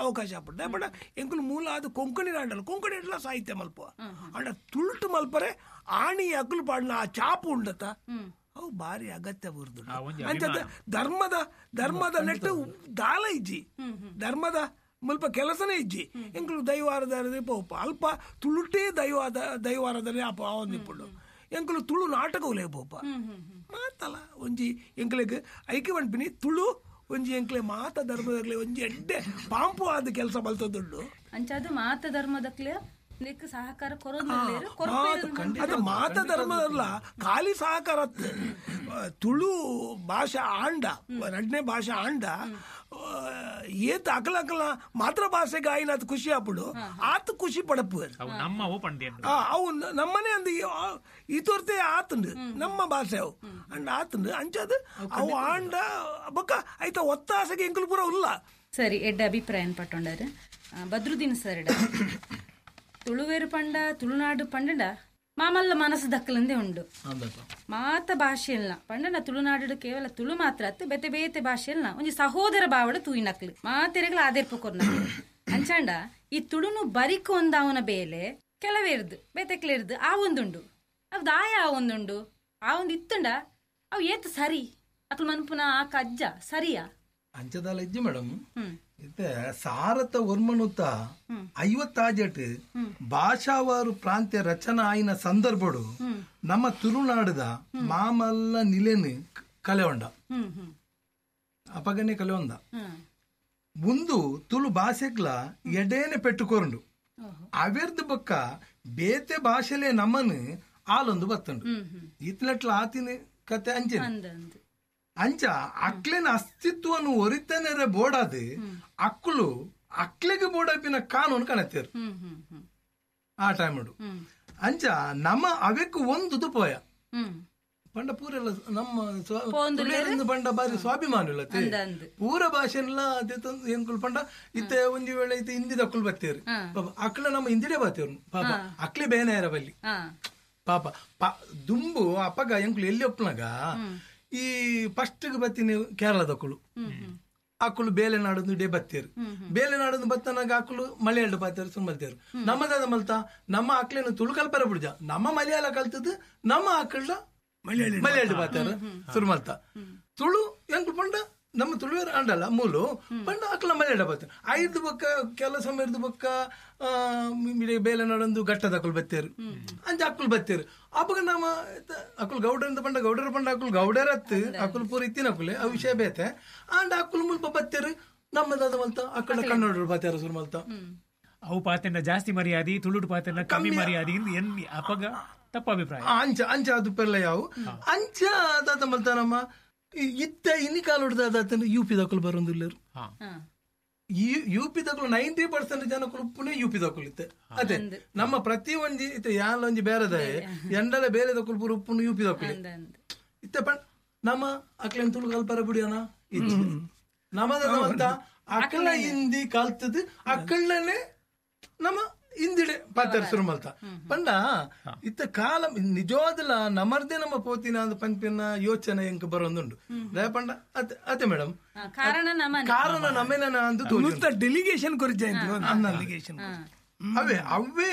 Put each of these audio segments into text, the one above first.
ಅವಕಾಶ ಆಪುಂಡು. ಬಟ್ ಎಂಕುಲು ಮೂಲ ಅದು ಕೊಂಕಣಿ ಆಂಡಲ್ಲ, ಕೊಂಕಣಿ ಅಂಡಲ ಸಾಹಿತ್ಯ ಮಲ್ಪ ಅಂಡ ತುಳುಟು ಮಲ್ಪರೆ ಆಣಿ ಅಕುಲು ಪಾಡಿನ ಆ ಚಾಪು ಉಂಡತ ಅವು ಭಾರಿ ಅಗತ್ಯ ಬುರ್ದು. ಅಂಚ ಧರ್ಮದ ಧರ್ಮದ ನೆಟ್ಟು ದಾಲ ಇಜ್ಜಿ, ಧರ್ಮದ ಮುಲ್ಪ ಕೆಲಸನೇ ಇಜ್ಜಿ. ಎಂಕುಲು ದೈವಾರದ ಪೋಪ ಅಲ್ಪ ತುಳುಟೇ ದೈವಾರದಲ್ಲಿ ಆವೊಂದಿಪ್ಪುಂಡು. ಎಂಕುಲು ತುಳು ನಾಟಕ ಉಲೇ ಪೋಪ ಮಾತಲ್ಲ ಒಂಜಿ ಎಂಕ್ಲೆಗ್ ಐಕೆ ಪನ್ಪಿನಿ ತುಳು ಒಂಜಿ ಎಂಕ್ಲೆ ಮಾತ ಧರ್ಮದಕ್ಲೆ ಒಂಜಿ ಎಡ್ಡೆ ಪಾಂಪು ಆದ ಕೆಲಸ ಮಲ್ತದುಂಡು. ಅಂಚಾದ ಮಾತ ಧರ್ಮದಕ್ಲೆ ಸಹಕಾರ ಅದು ಮಾತ ಧರ್ಮದಲ್ಲ ಖಾಲಿ ಸಹಕಾರ. ತುಳು ಭಾಷಾ ಆಂಡ ರಡ್ನೇ ಭಾಷಾ ಆಂಡ ಏತ್ ಅಕಲ ಅಕಲ ಮಾತೃ ಭಾಷೆಗೆ ಆಯಿನ ಅದು ಖುಷಿ ಆಪುಡು ಆತ ಖುಷಿ ಪಡಪು ಅವು ನಮ್ಮನೆ ಅಂದ್ ಈ ತೋರ್ತೆ ಆತಂಡು ನಮ್ಮ ಭಾಷೆ ಅವು ಅಂಡ ಆತಂಡು ಅಂಚದು ಅವು ಆಂಡ ಬೊಕ್ಕ ಐತ ಒತ್ತಾಸೆಗೆ ಎಂಕುಲು ಪೂರ ಉಲ್ಲ. ಸರಿ, ಎಡ್ಡ ಅಭಿಪ್ರಾಯ ಪಟ್ಟೊಂಡಾರು ಬದ್ರುದ್ದೀನ್ ಸರ್. ತುಳುವೇರು ಪಂಡ ತುಳುನಾಡು ಪಂಡಂಡ ಮಾಮಲ್ಲ ಮನಸ್ಸು ದಕ್ಕಲಂದೇ ಉಂಡು. ಮಾತ ಭಾಷೆಯಲ್ಲ ಪಂಡನ ತುಳುನಾಡು ಕೇವಲ ತುಳು ಮಾತ್ರ ಅತ್ತು ಬೇತೆ ಬೇತೆ ಭಾಷೆಯಲ್ಲ ಒಂಜಿ ಸಹೋದರ ಭಾವಡ ತೂಯಿನಕ್ಲು ಮಾತೆರೆಗಳ ಆದೇರ್ಪ ಕೊರ್ನಕ್ಲು. ಅಂಚಾಂಡ ಈ ತುಳುನು ಬರಿಕು ಒಂದಾವನ ಬೇಲೆ ಕೆಲವೇರ್ದು ಬೇತೆಕ್ಲೇರ್ದು ಆ ಒಂದುಂಡು ಅವು ದಾಯ ಆ ಒಂದುಂಡು ಆ ಒಂದು ಇತ್ತುಂಡ ಅವು ಏತ್ ಸರಿ ಅಕ್ಲು ಮನ್ಪುನ ಆ ಕಜ್ಜ ಸರಿಯಾ ಅಂಚದಾಲ ಇಜ್ಜಿ ಮೇಡಮ್. ಇತ್ತೆ ಸಾರತ ಒರ್ಮನುತ 50 ಭಾಷಾವಾರು ಪ್ರಾಂತ್ಯ ರಚನಾ ಆಯಿನ ಸಂದರ್ಭಡು ನಮ್ಮ ತುಳುನಾಡದ ಮಾಮಲ್ಲ ನಿಲೆನು ಕಲೆಯೊಂಡ ಅಪಗನೆ ಕಲೆಯೊಂದ ಮುಂದು ತುಳು ಭಾಷೆಗ್ಲ ಎಡೇನೆ ಪೆಟ್ಟುಕೊರಂಡು ಅವೆರ್ದು ಬೊಕ್ಕ ಬೇತೆ ಭಾಷೆಲೆ ನಮ್ಮನು ಆಲೊಂದು ಬತ್ತಂಡು ಇತ್ಲೆಟ್ಲ ಆತಿನ ಕತೆ ಅಂಚೆ ಅಂಚ ಅಕ್ಲೆನ ಅಸ್ತಿತ್ವನು ಒರಿತನೆರೆ ಬೋಡಾದು ಅಕ್ಕಲು ಅಕ್ಲೆಗೆ ಬೋಡಾಪಿನ ಕಾನೂನು ಕಾಣತ್ತೇರು ಆ ಟೈಮ್ ಅಂಚ ನಮ್ಮ ಅವೆಕ್ಕು ಒಂದು ಪೋಯ ಪಂಡ ಪೂರೆಲ್ಲ ನಮ್ಮ ಪಂಡ ಬಾರಿ ಸ್ವಾಭಿಮಾನ ಇಲ್ಲ ಪೂರ ಭಾಷೆಲ್ಲ ಎಂಕುಲು ಪಂಡ ಇತ್ತೆ ಒಂಜಿ ವೇಳೆ ಇತ್ತೆ ಹಿಂದಿದ ಅಕ್ಕಲು ಬತ್ತೇರು ಪಾಪ ಅಕ್ಲ ನಮ್ಮ ಹಿಂದಿಡೆ ಬತ್ತೇರು ಪಾಪ ಅಕ್ಲೆ ಬೇನಾಯರ ಬಲ್ಲಿ ಪಾಪ ದುಂಬು ಅಪ್ಪಗ ಎಂಕುಲು ಎಲ್ಲಿ ಒಪ್ಪನಾಗ ಈ ಫಸ್ಟ್ ಬತ್ತೀನಿ ಕೇರಳದಕ್ಕಳು ಅಕ್ಕಳು ಬೇಲೆ ನಾಡೊಂದು ಡೇ ಬತ್ತೇರು ಬೇಲೆ ನಾಡೊಂದು ಬತ್ತನಾಗ ಅಕ್ಕಳು ಮಲಯಾಳ ಬಾತೇರು ಸುಮ್ಮಲ್ತೇರು ನಮ್ಮದಾದ ಮಲ್ತ ನಮ್ಮ ಅಕ್ಲೇನು ತುಳು ಕಲ್ಪರ ಬಿಡ್ಜ ನಮ್ಮ ಮಲಯಾಳ ಕಲ್ತದ್ದು ನಮ್ಮ ಆಕಳ ಮಲಯಾಳ ಬಾತೇರು ಸುರುಮಲ್ತ ತುಳು ಎಂಕುಲು ಪಂಡ ನಮ್ಮ ತುಳುವೇರು ಅಂಡಲ್ಲ ಮೂಲು ಪಂಡ ಅಕ್ಲ ಮಲಯಾಳ ಬಾತೇರು ಐದು ಬೊಕ್ಕ ಕೆಲ ಸಮಯದ ಬೊಕ್ಕ ಬೇಲೆ ನಾಡೊಂದು ಘಟ್ಟದ ಅಕ್ಕಳು ಬತ್ತೇರು ಅಂಚ ಅಕ್ಕಳು ಬತ್ತೇರು ಅಪ್ಪಗ ನಮ್ಮ ಅಕ್ಕಳು ಗೌಡರಿಂದ ಪಂಡ ಗೌಡರ ಪಂಡ ಅಕ್ಕಳು ಗೌಡರತ್ತು ಅಕ್ಕಳು ಪೂರ ಇತ್ತಿನ ಅಕ್ಕುಲೆ ಆ ವಿಷಯ ಬೇತೆ ಅಂಡ್ ಅಕ್ಕಳು ಮುಲ್ಪ ಬತ್ತೇರು ನಮ್ಮದಾದ ಮಲ್ತ ಅಕ್ಕಳ ಕನ್ನಡರು ಬಾತೇರು ಸುರು ಮಲ್ತ ಅವು ಪಾತೆಂಡ ಜಾಸ್ತಿ ಮರ್ಯಾದೆ ತುಳುಡು ಪಾತೆಂಡ ಕಮ್ಮಿ ಮರ್ಯಾದೆ ಅಪ್ಪಗ ತಪ್ಪ ಅಭಿಪ್ರಾಯ ಅಂಚ ಅಂಚ ಅದು ಪೆರ್ಲ ಯಾವು ಅಂಚ ಅದಾದ ಮಲ್ತ ನಮ್ಮ ಇತ್ತ ಇನಿ ಕಾಲುಡ್ದ ಯು ಪಿ ದಕ್ಕಲು ಬರೋದಿಲ್ಲರು ಈ ಯು ಪಿ ದಕ್ಕಲು 90% ಜನಕ್ಕಳು ಪುಣೆ ಯು ಪಿ ದಕ್ಕಲು ಇತ್ತೆ ಅದೇ ನಮ್ಮ ಪ್ರತಿ ಒಂಜಿ ಇತ್ತೆ ಯಾಲ ಒಂಜಿ ಬೇರೆದ ಎಂಡಲ ಬೇರೆ ದಕ್ಕಲು ಪೂರ ಉಪ್ಪುನು ಯು ಪಿ ದಕ್ಕಲು ಇತ್ತೆ ಪಂಡ ನಮ್ಮ ಅಕ್ಲೇನ್ ತುಳು ಕಲ್ಪರ ಬಿಡಿಯೋಣ ನಮ್ಮದ ಅಕ್ಕಳ ಹಿಂದಿ ಕಲ್ತದ್ದು ಅಕ್ಕಳನೆ ನಮ್ಮ ಹಿಂದಿಡೆ ಪಾತ್ರ ಶುರು ಮಲ್ತ ಪಂಡ ಇತ್ತ ಕಾಲ ನಿಜವಾದಲ ನಮರ್ದೆ ನಮ್ಮ ಪೋತಿನ ಪಂಪಿನ ಯೋಚನೆ ಎಂಕ ಬರೋದುಂಡು ಪಂಡ ಅದೇ ಮೇಡಮ್ ಕಾರಣ ನಮ್ಮೇನ ಡೆಲಿಗೇಷನ್ ಡೆಲಿಗೇಷನ್ ಅವೇ ಅವೇ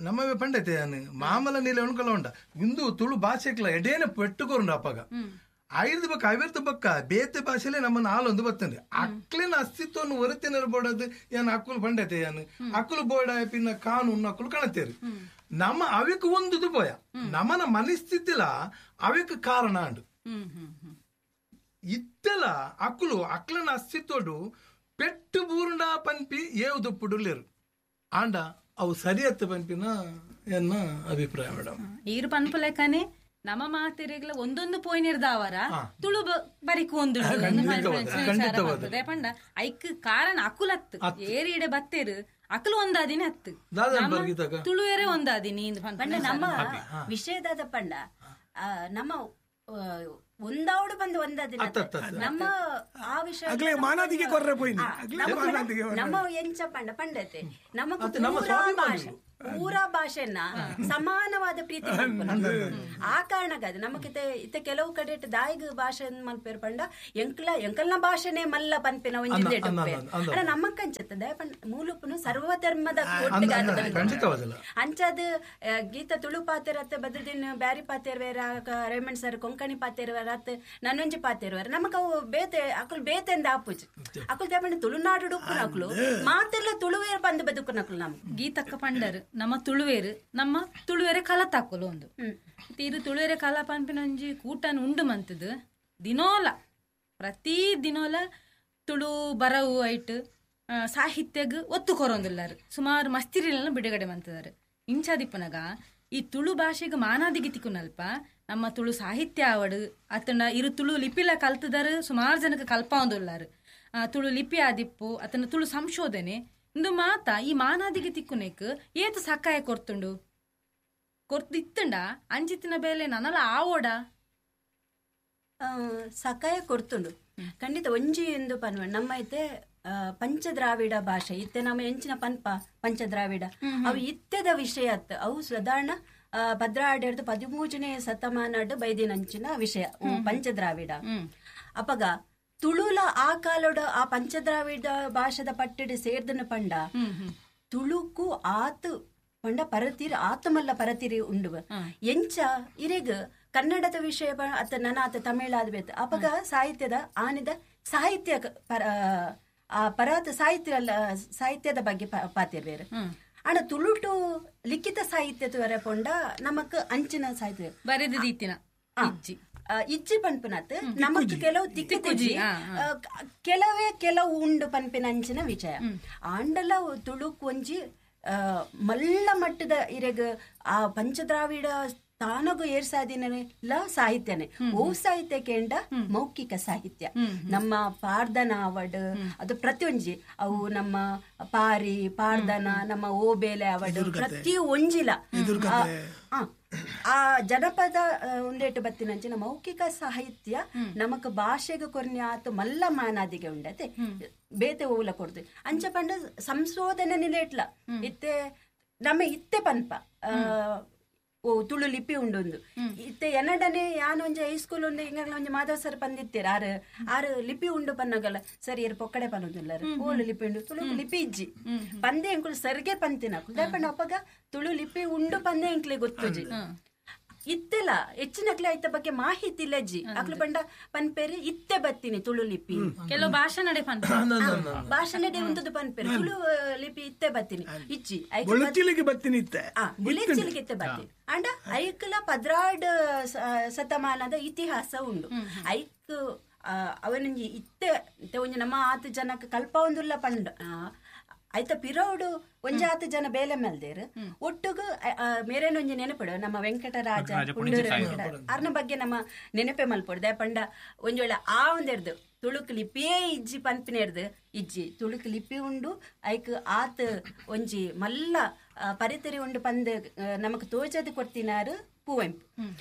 ನಮ್ಮವೇ ಪಂಡತೆ ಮಾಮಲ ನೀಲ ಉಣ್ಕಲ ಉಂಡ ಇಂದು ತುಳು ಭಾಷೆಕ್ಲ ಎಡೇನ ಪೆಟ್ಟುಕೊರುಂಡು ಅಪ್ಪಗ ಐದು ಬಕ್ಕ ಐವತ್ತು ಬಕ್ಕ ಬೇತೆ ಭಾಷೆಲೆ ನಮ್ಮನ್ನ ಹಾಲೊಂದು ಬರ್ತಂಡೆ ಅಕ್ಲಿನ ಅಸ್ತಿತ್ವವನ್ನು ಹೊರತೆ ಬೋಡದು ಏನ್ ಅಕ್ಕುಲು ಪಂಡತೆ ಏನು ಅಕ್ಕುಲು ಬೋಡ ಪಿನ್ನ ಕಾನೂನು ಅಕ್ಕುಲು ಕಾಣತ್ತೇರು ನಮ್ಮ ಅವಿಕ್ ಒಂದು ಪೋಯ ನಮ್ಮನ ಮನಸ್ಥಿತಿಲ ಅವಿಕ್ ಕಾರಣ ಅಂಡು ಇತ್ತೆಲ ಅಕ್ಕುಲು ಅಕ್ಲನ ಅಸ್ತಿತ್ವಡು ಪೆಟ್ಟು ಬೂರುಂಡ ಪನ್ಪಿ ಏವು ದುಪ್ಪುಡುಲೇರು ಆಂಡ ಅವು ಸರಿಯತ್ತು ಪನ್ಪಿನ ಎನ್ನ ಅಭಿಪ್ರಾಯ ಮೇಡಮ್. ಈರು ಪನ್ಪುಲೆಕನೆ ನಮ್ಮ ಮಾತೆರೆಗ್ಲ ಒಂದೊಂದು ಪೋಯಿನಿರ್ದಾವರ ತುಳು ಬರಿಕು ಒಂದು ಪಂಡ ಐಕ್ ಕಾರಣ ಅಕುಲತ್ತು ಏರಿ ಇಡೆ ಬತ್ತೇರು ಅಕಲು ಒಂದಾದಿನ ಹತ್ತು ತುಳುವೇರೆ ಒಂದಾದಿನಿ ಪಂಡ ನಮ್ಮ ವಿಷಯದಾದ ಪಂಡ ನಮ್ಮ ಒಂದಾವಡು ಬಂದು ಒಂದಾದಿನ ನಮ್ಮ ಆ ವಿಷಯ ನಮ್ಮ ಎಂಚ ಪಂಡ ಪಂಡತೆ ನಮಕ್ ಪೂರಾ ಭಾಷೆನ ಸಮಾನವಾದ ಪ್ರೀತಿ ಆ ಕಾರಣಕ್ಕಾದ ನಮಕಿತೆ ಇತ್ತ ಕೆಲವು ಕಡೆ ದಾಯಿಗ ಭಾಷೆ ಮಲ್ಪೇರು ಪಂಡ ಎಂಕ್ಲ ಎಂಕಲ್ನ ಭಾಷೆನೆ ಮಲ್ಲ ಪನ್ಪಿನ ಒಂಜಿ ಅಣ್ಣ ನಮ್ಮಕ್ಕಂಚತ್ತದ ಮೂಲುಪುನು ಸರ್ವಧರ್ಮದ ಅಂಚಾದ ಗೀತ ತುಳು ಪಾತೆರತ್ತ ಬದ್ರದಿನ ಬ್ಯಾರಿ ಪಾತೆರ್ವೇರ ರೇಮಂಡ್ ಸರ್ ಕೊಂಕಣಿ ಪಾತೆರ್ವೇರ ಅತ್ ನನ್ನೊಂಜಿ ಪಾತೆರ್ವೇರ ನಮಕ್ ಅವು ಬೇತೆ ಅಕುಲು ಬೇತೆಂದ ಆಪುಜಿ ಅಕುಲು ದೇಪಂಡ ತುಳುನಾಡು ಉಪ್ಪುನಕುಲು ಮಾತೆಲ್ಲ ತುಳುವೇರ್ ಬಂದು ಬದುಕುನಕುಲು ನಮ್ ಗೀತಕ್ಕ ಪಂಡರು ನಮ್ಮ ತುಳುವೇರು ನಮ್ಮ ತುಳುವೇರೆ ಕಲತಾಕುಲು ಒಂದು ತೀರು ತುಳುವೇರೆ ಕಲ ಪನ್ಪಿನೊಂಜಿ ಕೂಟನ್ ಉಂಡು ಮಂತದು ದಿನೋಲ ಪ್ರತಿ ದಿನೋಲ ತುಳು ಬರವು ಐಟ್ ಸಾಹಿತ್ಯಗ್ ಒತ್ತು ಕೊರೊಂದುಲ್ಲಾರು ಸುಮಾರು ಮಸ್ತಿರಿಲೆಲ್ಲ ಬಿಡುಗಡೆ ಮಂತದಾರು ಇಂಚಾದಿಪ್ಪನಗ ಈ ತುಳು ಭಾಷೆಗೆ ಮಾನಾದಿಗೆ ತಿಕ್ಕುನಲ್ಪ ನಮ್ಮ ತುಳು ಸಾಹಿತ್ಯ ಆವಡು ಅತನ ಇರು ತುಳು ಲಿಪಿಲ ಕಲ್ತದಾರು ಸುಮಾರು ಜನಕ್ಕೆ ಕಲ್ಪಾವೊಂದುಲ್ಲಾರು ತುಳು ಲಿಪಿ ಆದಿಪ್ಪು ಅತನ ತುಳು ಸಂಶೋಧನೆ ಇಂದು ಮಾತ ಈ ಮಾನಾದಿಗೆ ತಿಕ್ಕುನೆಕ್ ಏತು ಸಕಾಯ ಕೊರ್ತುಂಡು ಕೊರ್ತು ಇತ್ತುಂಡ ಅಂಚಿತ್ತಿನ ಬೇಲೆ ನನಲ ಆವೋಡ ಸಕಾಯ ಕೊರ್ತುಂಡು ಖಂಡಿತ ಒಂಜಿ ಎಂದು ಪನ್ವ ನಮ್ಮ ಐತೆ ಪಂಚದ್ರಾವಿಡ ಭಾಷೆ ಇತ್ತೆ ನಮ್ಮ ಎಂಚಿನ ಪನ್ಪ ಪಂಚದ್ರಾವಿಡ ಅವು ಇತ್ತೆದ ವಿಷಯ ಅತ್ ಅವು ಸಾಧಾರಣ ಭದ್ರಾಡ್ಯರ್ದು 13ನೇ ಶತಮಾನಡ್ ಬೈದಿನಂಚಿನ ವಿಷಯ ಪಂಚದ್ರಾವಿಡ. ಅಪಗ ತುಳುಲ ಆ ಕಾಲೋಡ ಆ ಪಂಚದ್ರಾವಿಡ ಭಾಷೆದ ಪಟ್ಟಿಡು ಸೇರ್ದನ ಪಂಡ ತುಳುಕು ಆತು ಪಂಡ ಪರತಿರಿ ಆತಮಲ್ಲ ಪರತಿರಿ ಉಂಡುವ ಎಂಚ ಇರೆಗ್ ಕನ್ನಡದ ವಿಷಯ ಅತ್ತ ನನಾತ ತಮಿಳಾದ ಬೇಕು ಅಪಗ ಸಾಹಿತ್ಯದ ಆನಿದ ಸಾಹಿತ್ಯ ಪರ ಆ ಪರಾತ ಸಾಹಿತ್ಯ ಸಾಹಿತ್ಯದ ಬಗ್ಗೆ ಪಾತಿರ್ವೇರು. ಆಂಡ ತುಳುಟು ಲಿಖಿತ ಸಾಹಿತ್ಯ ತುವರೆ ಪೊಂಡ ನಮಕ್ ಅಂಚಿನ ಸಾಹಿತ್ಯ ಬರೆದ ಇಜ್ಜಿ ಪನ್ಪಿನತ್ ನಮಕ್ ಕೆಲವು ತಿಕ್ಕುಜಿ ಕೆಲವೇ ಕೆಲವು ಉಂಡು ಪನ್ಪಿನ ಅಂಚಿನ ವಿಷಯ. ಆಂಡಲ ತುಳುಕ್ ಒಂಜಿ ಮಲ್ಲ ಮಟ್ಟದ ಇರೆಗ್ ಆ ಪಂಚದ್ರಾವಿಡ ತಾನಗು ಏರ್ಸಾದಿನ ಸಾಹಿತ್ಯನೇ ಓ ಸಾಹಿತ್ಯ ಕೇಂಡ ಮೌಖಿಕ ಸಾಹಿತ್ಯ ನಮ್ಮ ಪಾರ್ದನ ಅವಡ್ ಅದು ಪ್ರತಿಯೊಂಜಿ ಅವು ನಮ್ಮ ಪಾರಿ ಪಾರ್ದನ ನಮ್ಮ ಓಬೇಲೆ ಅವಡ್ ಪ್ರತಿ ಒಂಜಿಲ ಆ ಜನಪದ ಒಂದೇಟು ಬತ್ತಿನಂಚಿನ ಮೌಖಿಕ ಸಾಹಿತ್ಯ ನಮಕ್ ಭಾಷೆಗೆ ಕೊರ್ನಿ ಆತು ಮಲ್ಲ ಮಾನಾದಿಗೆ ಉಂಡತೆ ಬೇತೆ ಓಲ ಕೊಡ್ತು ಅಂಚ ಪಂಡ ಸಂಶೋಧನೆ ನಿಲೇಟ್ಲ ಇತ್ತೆ ನಮ್ಮ ಇತ್ತೆ ಪನ್ಪ ಓ ತುಳು ಲಿಪಿ ಉಂಡೊಂದು ಇತ್ತೆ ಎನ್ನಡನೆ ಯಾನ್ ಒಂಜಿ ಹೈಸ್ಕೂಲ್ ಒಂದು ಹಿಂಗಾಗ್ಲ ಒಂಜಿ ಮಾಧವ ಸರ್ ಪಂದಿತ್ತೀರ ಆರು ಆರು ಲಿಪಿ ಉಂಡು ಪನ್ನಗಲ್ಲ ಸರ್ ಏರ್ ಪೊಕ್ಕಡೆ ಪನ್ನೊಂದುಲ್ಲಾರ ಓಲು ಲಿಪಿ ಉಂಡು ತುಳು ಲಿಪಿ ಇಜ್ಜಿ ಪಂದೆ ಎಂಕುಲು ಸರ್ಗೆ ಪಂತಿನ ಪಂಡ ಅಪ್ಪಗ ತುಳು ಲಿಪಿ ಉಂಡು ಪಂದೆ ಎಂಕ್ಲೆ ಗೊತ್ತುಜಿ ಇತ್ತೆಲ್ಲ ಹೆಚ್ಚಿನಕ್ಲೆ ಐತ ಬಗ್ಗೆ ಮಾಹಿತಿ ಇಲ್ಲಜ್ಜಿ ಅಕ್ಲು ಪಂಡ ಪನ್ಪೇರಿ ಇತ್ತೆ ಬತ್ತೀನಿ ತುಳು ಲಿಪಿ ಕೆಲವು ಭಾಷೆ ನಡೆ ಭಾಷೆ ನಡೆ ಉಂಟು ಪನ್ಪೇರಿ ತುಳು ಲಿಪಿ ಇತ್ತೆ ಬತ್ತೀನಿ ಇಜ್ಜಿ ಬತ್ತೀನಿ ಇತ್ತೆ ಬುಲೆಚಿಲಿಗೆ ಇತ್ತೆ ಬತ್ತೀನಿ ಅಂಡ ಐಕ್ಲ 12 ಶತಮಾನದ ಇತಿಹಾಸ ಉಂಡು ಐಕ್ ಅವನೊಂಜಿ ಇತ್ತೆ ಒಂಜಿ ನಮ್ಮ ಆತು ಜನಕ್ಕೆ ಕಲ್ಪ ಒಂದುಲ್ಲ ಪಂಡ ಐತ ಪಿರೋಡು ಒಂಜಾತು ಜನ ಬೇಲೆ ಮಲ್ದೇರು ಒಟ್ಟುಗು ಮೇರೇನೊಂಜಿ ನೆನಪಡು ನಮ್ಮ ವೆಂಕಟರಾಜ ಅರ್ನ ಬಗ್ಗೆ ನಮ್ಮ ನೆನಪೆ ಮಲ್ಪಡು ದಯಪಂಡ ಒಂಜೊಳ್ಳೆ ಆ ಒಂದೆರ್ದು ತುಳುಕು ಲಿಪಿಯೇ ಇಜ್ಜಿ ಪನ್ಪಿನೆರ್ದು ಇಜ್ಜಿ ತುಳುಕು ಲಿಪಿ ಉಂಡು ಐಕ್ ಆತ್ ಒಂಜಿ ಮಲ್ಲ ಪರಿತರಿ ಉಂಡು ಪಂದ್ ನಮಕ್ ತೋಜದು ಕೊಡ್ತಿನಾರು ಕುವೆಂಪು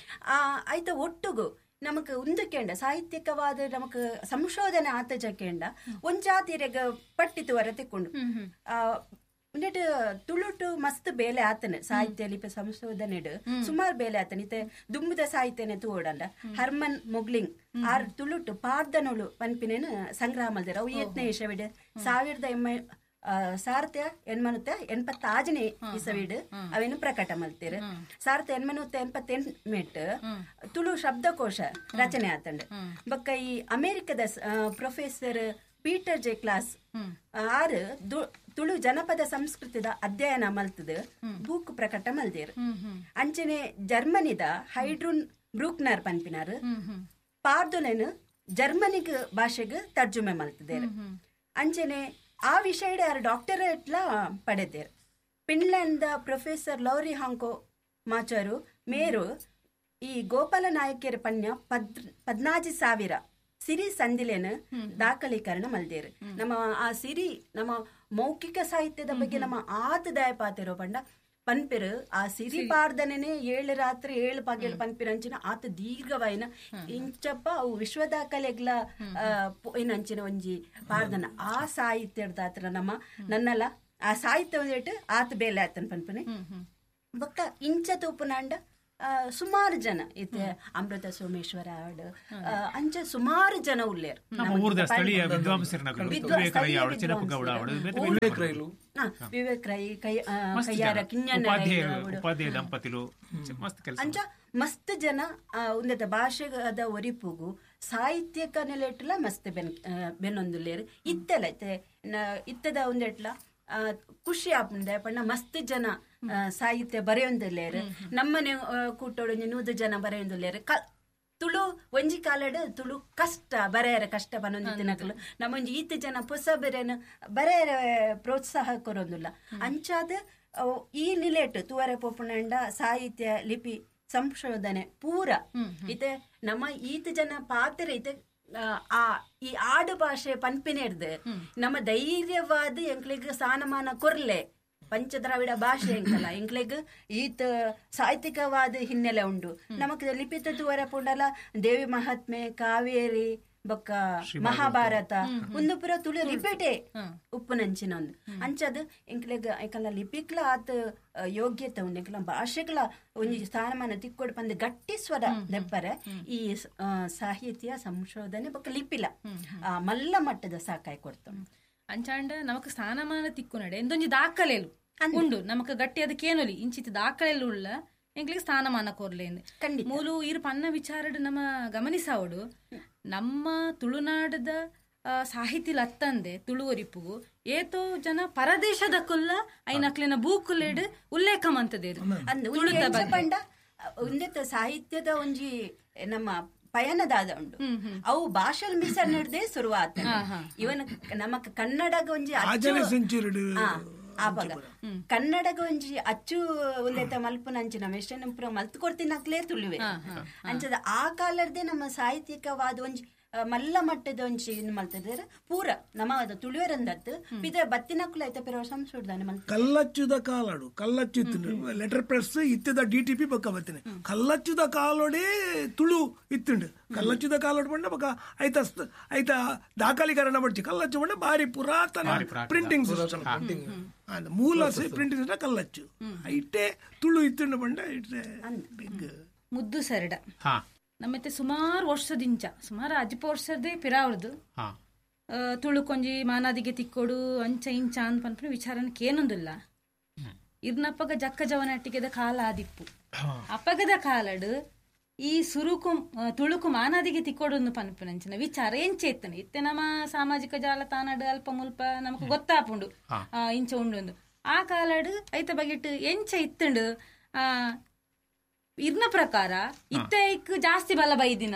ಆ ಐತ ಒಟ್ಟುಗು ನಮಕ್ ಉಂದಕೇಂಡ ಸಾಹಿತ್ಯಿಕವಾದ ನಮಕ್ ಸಂಶೋಧನೆ ಆತಜಕೇಂಡ ಒಂಜಾತಿರೆಗ ಪಟ್ಟಿತು ವರ ತಿಕ್ಕೊಂಡು ಉಂಡೆಟ್ ತುಳುಟು ಮಸ್ತ್ ಬೇಲೆ ಆತನೆ ಸಾಹಿತ್ಯ ಲಿಪಿ ಸಂಶೋಧನೆಡು ಸುಮಾರು ಬೇಲೆ ಆತನೆ ಇತ್ತೆ ದುಂಬುದ ಸಾಹಿತ್ಯನೆ ತೂಡಂಡ ಹರ್ಮನ್ ಮೊಗ್ಲಿಂಗ್ ಆರ್ ತುಳುಟು ಪಾರ್ದನೋಳು ಪನ್ಪಿನೇನು ಸಂಗ್ರಹ ಮಲ್ದೇರು ಅವು ಏತ್ನೇ ಇಸವಿಡು 1886ನೇ ಇಸವಿಡು ಅವೇನು ಪ್ರಕಟ ಮಲ್ತೇರು 1888 ತುಳು ಶಬ್ದಕೋಶ ರಚನೆ ಆತಂಡು. ಬೊಕ್ಕ ಈ ಅಮೆರಿಕದ ಪ್ರೊಫೆಸರ್ ಪೀಟರ್ ಜೆ ಕ್ಲಾಸ್ ಆರು ತುಳು ಜನಪದ ಸಂಸ್ಕೃತಿದ ಅಧ್ಯಯನ ಮಲ್ತದ ಬೂಕ್ ಪ್ರಕಟ ಮಲ್ದೇರು. ಅಂಚನೆ ಜರ್ಮನಿದ ಹೈಡ್ರೂನ್ ಬ್ರೂಕ್ನರ್ ಪನ್ಪಿನಾರು ಪಾರ್ದೊಲೆನು ಜರ್ಮನಿಗ್ ಭಾಷೆಗ್ ತರ್ಜುಮೆ ಮಲ್ತದೇರು. ಅಂಚನೆ ಆ ವಿಷಯಡೆ ಆರು ಡಾಕ್ಟರೇಟ್ಲ ಪಡೆದೇರು. ಫಿನ್ಲ್ಯಾಂಡ್ದ ಪ್ರೊಫೆಸರ್ ಲೌರಿ ಹಾಂಕೋ ಮಾಚಾರು ಮೇರು ಈ ಗೋಪಾಲ ನಾಯಕರ ಪನ್ಯ 14,000 ಸಿರಿ ಸಂದಿಲೇನು ದಾಖಲೀಕರಣ ಮಲ್ದೇರು. ನಮ್ಮ ಆ ಸಿರಿ ನಮ್ಮ ಮೌಖಿಕ ಸಾಹಿತ್ಯದ ಬಗ್ಗೆ ನಮ್ಮ ಆತ ದಯಪಾತಿರೋ ಪಂಡ ಪನ್ಪೆರು ಆ ಸಿರಿ ಪಾರ್ದನೆ 7 ರಾತ್ರಿ 7 ಪಗೆಲ್ ಪನ್ಪಿರಂಚಿನ ಆತ ದೀರ್ಘವಾಯಿನ ಇಂಚಪ್ಪ ಅವು ವಿಶ್ವ ದಾಖಲೆಗ್ಲ ಏನಂಚಿನ ಒಂಜಿ ಪಾರ್ದನ ಆ ಸಾಹಿತ್ಯದ ನಮ್ಮ ನನ್ನಲ್ಲ ಆ ಸಾಹಿತ್ಯ ಒಂದಿಟ್ಟು ಆತ ಬೇಲೆ ಆತನ ಪನ್ಪನೆ ಬೊಕ್ಕ ಇಂಚ ತೂಪುನಾಂಡ ಸುಮಾರು ಜನ ಇತ್ತೆ ಅಮೃತ ಸೋಮೇಶ್ವರ ಆಡು ಅಂಚ ಸುಮಾರು ಜನ ಉಲ್ಲೇರು ವಿವೇಕ್ ರೈ ಕೈಯಾರ ಕಿಂಜಣ್ಣ ಅಂಚ ಮಸ್ತ್ ಜನ ಉಂದದ ಭಾಷೆದ ಒರಿಪುಗು ಸಾಹಿತ್ಯಕ ನೆಲೆಟ್ಲ ಮಸ್ತ್ ಬೆನ್ನೊಂದುಲ್ಲೇರು ಇತ್ತೆಲ್ಲ ಇತ್ತೆ ಇತ್ತದ ಒಂದೆಟ್ಲ ಖುಷಿ ಆಪುಂಡೆ ಪಂಡ ಮಸ್ತ್ ಜನ ಸಾಹಿತ್ಯ ಬರೆಯೊಂದುಲ್ಲೇರು ನಮ್ಮನೆ ಕೂಟೋಡು 100 ಜನ ಬರೆಯೊಂದುಲ್ಲೇರು ತುಳು ಒಂಜಿ ಕಾಲಡ್ ತುಳು ಕಷ್ಟ ಬರೆಯರ ಕಷ್ಟ ಬನ್ನೊಂದು ತಿನಕಲು ನಮ್ಮೊಂಜಿ ಈತ ಜನ ಪೊಸ ಬೆರೆನ ಬರೆಯರ ಪ್ರೋತ್ಸಾಹ ಕೊರೊಂದುಲ್ಲ ಅಂಚಾದ ಈ ನಿಲೆಟ್ ತುವರೆ ಪೋಪುನಂಡ ಸಾಹಿತ್ಯ ಲಿಪಿ ಸಂಶೋಧನೆ ಪೂರ ಇತ್ತೆ ನಮ್ಮ ಈತ ಜನ ಪಾತ್ರ ಇತ್ತೆ ಆ ಈ ಆಡು ಭಾಷೆ ಪನ್ಪಿನೆಡ್ದು ನಮ್ಮ ಧೈರ್ಯವಾದ ಎಂಕ್ಲೆಗ್ ಸ್ಥಾನಮಾನ ಕೊರ್ಲೆ ಪಂಚದ್ರಾವಿಡ ಭಾಷೆ ಎಂಕಲ್ಲ ಎಂಕ್ಲೆಗ್ ಈತ ಸಾಹಿತ್ಯಿಕವಾದ ಹಿನ್ನೆಲೆ ಉಂಡು ನಮಕ್ ಲಿಪಿತ ತುವರ ಪುಂಡಲ ದೇವಿ ಮಹಾತ್ಮೆ ಕಾವೇರಿ ಬೊಕ್ಕ ಮಹಾಭಾರತ ಒಂದು ಪುರ ತುಳು ಲಿಪಿಟೆ ಉಪ್ಪುನಂಚಿನ ಒಂದು ಅಂಚದ ಎಂಕ್ಲೆಗ್ ಎಂಕಲ್ಲ ಲಿಪಿಕ್ಲ ಆತ ಯೋಗ್ಯತೆ ಉಂಡು ಎಂಕಲ ಭಾಷೆಗಳ ಒಂಜಿ ಸ್ಥಾನಮಾನ ತಿಕ್ಕೊಡು ಪಂದ್ ಗಟ್ಟಿ ಸ್ವರ ದೆಪ್ಪರೆ ಈ ಸಾಹಿತ್ಯ ಸಂಶೋಧನೆ ಬೊಕ್ಕ ಲಿಪಿಲ ಮಲ್ಲ ಮಟ್ಟದ ಸಾಕಾಯ್ ಕೊಡ್ತು ಅಂಚಾಂಡ ನಮಕ್ ಸ್ಥಾನಮಾನ ತಿಕ್ಕು ನಡೆ ಎಂದೊಂಜಿ ದಾಖಲೆಲು ಉಂಡು ನಮಕ್ ಗಟ್ಟಿ ಅದಕ್ಕೇನೊಲಿ ಇಂಚಿತ ದಾಖಲೆಲು ಉಳ್ಳ ಎಂಕ್ಲಿಗೆ ಸ್ಥಾನಮಾನ ಕೊರ್ಲೇಂದು ಮೂಲು ಇರು ಪನ್ನ ವಿಚಾರಡ್ ನಮ್ಮ ಗಮನಿಸಾವಡು ನಮ್ಮ ತುಳುನಾಡದ ಸಾಹಿತಿ ಲತ್ತಂದೆ ತುಳುವರಿಪುಗು ಏತೋ ಜನ ಪರದೇಶದ ಕುಲ್ಲ ಐನಕ್ಲಿನ ಬೂಕುಲೆಡ್ ಉಲ್ಲೇಖ ಮಂತದೇರು ಪಂಡ ಒಂದೆತ್ತ ಸಾಹಿತ್ಯದ ಒಂಜಿ ನಮ್ಮ ಪಯಣದಾದ ಉಂಡು ಅವು ಭಾಷೆ ಮಿಸನ್ ಹಿಡ್ದೆ ಶುರುವಾತ ಇವನ್ ನಮ್ಮ ಕನ್ನಡಗ ಒಂಜಿ ಆವಾಗ ಕನ್ನಡಗ ಒಂಜಿ ಅಚ್ಚು ಒಂದೈತ ಮಲ್ಪುನಂಚಿನ ಮೆಷನ್ ಪೂರ ಮಲ್ತು ಕೊಡ್ತಿನಕ್ಲೇ ತುಳುವೆ ಅಂಚದ ಆ ಕಾಲರ್ದೇ ನಮ್ಮ ಸಾಹಿತ್ಯಿಕವಾದ ಒಂಜಿ ಮಲ್ಲ ಮಟ್ಟದ ಒಂಜಿ ಇದು ಮಲ್ತದ್ರೆ ಪೂರ ನಮ್ಮ ತುಳುವೆರಂದತ್ತು ಪಿದ ಬತ್ತಿನಕ್ಲು ಐತ ಪಿರ ಸಂಶೋಧನೆ ಮಲ್ತ ಕಲ್ಲಚ್ಚುದ ಕಾಲಾಡು ಕಲ್ಲಚ್ಚು ಇತ್ತು ಲೆಟರ್ ಪ್ರೆಸ್ ಇತ್ತದ ಡಿ ಟಿ ಪಿ ಬೊಕ್ಕ ಬತ್ತಿನ ಕಲ್ಲಚ್ಚುದ ಕಾಲೋಡೆ ತುಳು ಇತ್ತುಂಡು ಕಲ್ಲಚ್ಚುದ ಕಾಲೋಡು ಪಂಡ ಬೊಕ್ಕ ಐತ ಐತ ದಾಖಲೀಕರಣ ಪಡ್ಚಿ ಕಲ್ಲಚ್ಚು ಪಂಡ ಬಾರಿ ಪುರಾತನ ಪ್ರಿಂಟಿಂಗ್ ಸಿಸ್ಟಮ್ ಮೂಲ ಪ್ರಿಂಟಿಂಗ್ ಸಿಸ್ಟಮ್ ಕಲ್ಲಚ್ಚು ಇಟ್ಟೆ ತುಳು ಇತ್ತುಂಡು ಪಂಡ ಇಟ್ಟೆ ಬಿಗ್ ಮುದ್ದು ಸರಡ ನಮ್ಮತ್ತೆ ಸುಮಾರು ವರ್ಷದಿಂಚ ಸುಮಾರು ಅಜ್ಪ ವರ್ಷದೇ ಪಿರಾವ್ರದ್ದು ತುಳು ಕೊಂಜಿ ಮಾನಾದಿಗೆ ತಿಕ್ಕೋಡು ಅಂಚ ಇಂಚ ಅಂದ್ ಪನ್ಪಿನ ವಿಚಾರನ ಕೇನೊಂದಿಲ್ಲ ಇರ್ನಪ್ಪಗ ಜಕ್ಕ ಜವನಟ್ಟಿಗೆದ ಕಾಲ ಆದಿಪ್ಪು ಅಪ್ಪಗದ ಕಾಲಡು ಈ ಸುರುಕು ತುಳುಕು ಮಾನಾದಿಗೆ ತಿಕ್ಕೋಡು ಪನ್ಪಿನಂಚಿನ ವಿಚಾರ ಎಂಚೆ ಇತ್ತನೆ ಇತ್ತೆ ನಮ್ಮ ಸಾಮಾಜಿಕ ಜಾಲತಾಣಡು ಅಲ್ಪ ಮುಲ್ಪ ನಮಕ್ ಗೊತ್ತಾಪುಂಡು ಇಂಚ ಉಂಡು ಆ ಕಾಲಡು ಐತ ಬಗೆಟ್ ಎಂಚ ಇತ್ತುಂಡು ಇರ್ನ ಪ್ರಕಾರ ಇತ್ತೆ ಐಕ್ ಜಾಸ್ತಿ ಬಲ ಬೈದಿನ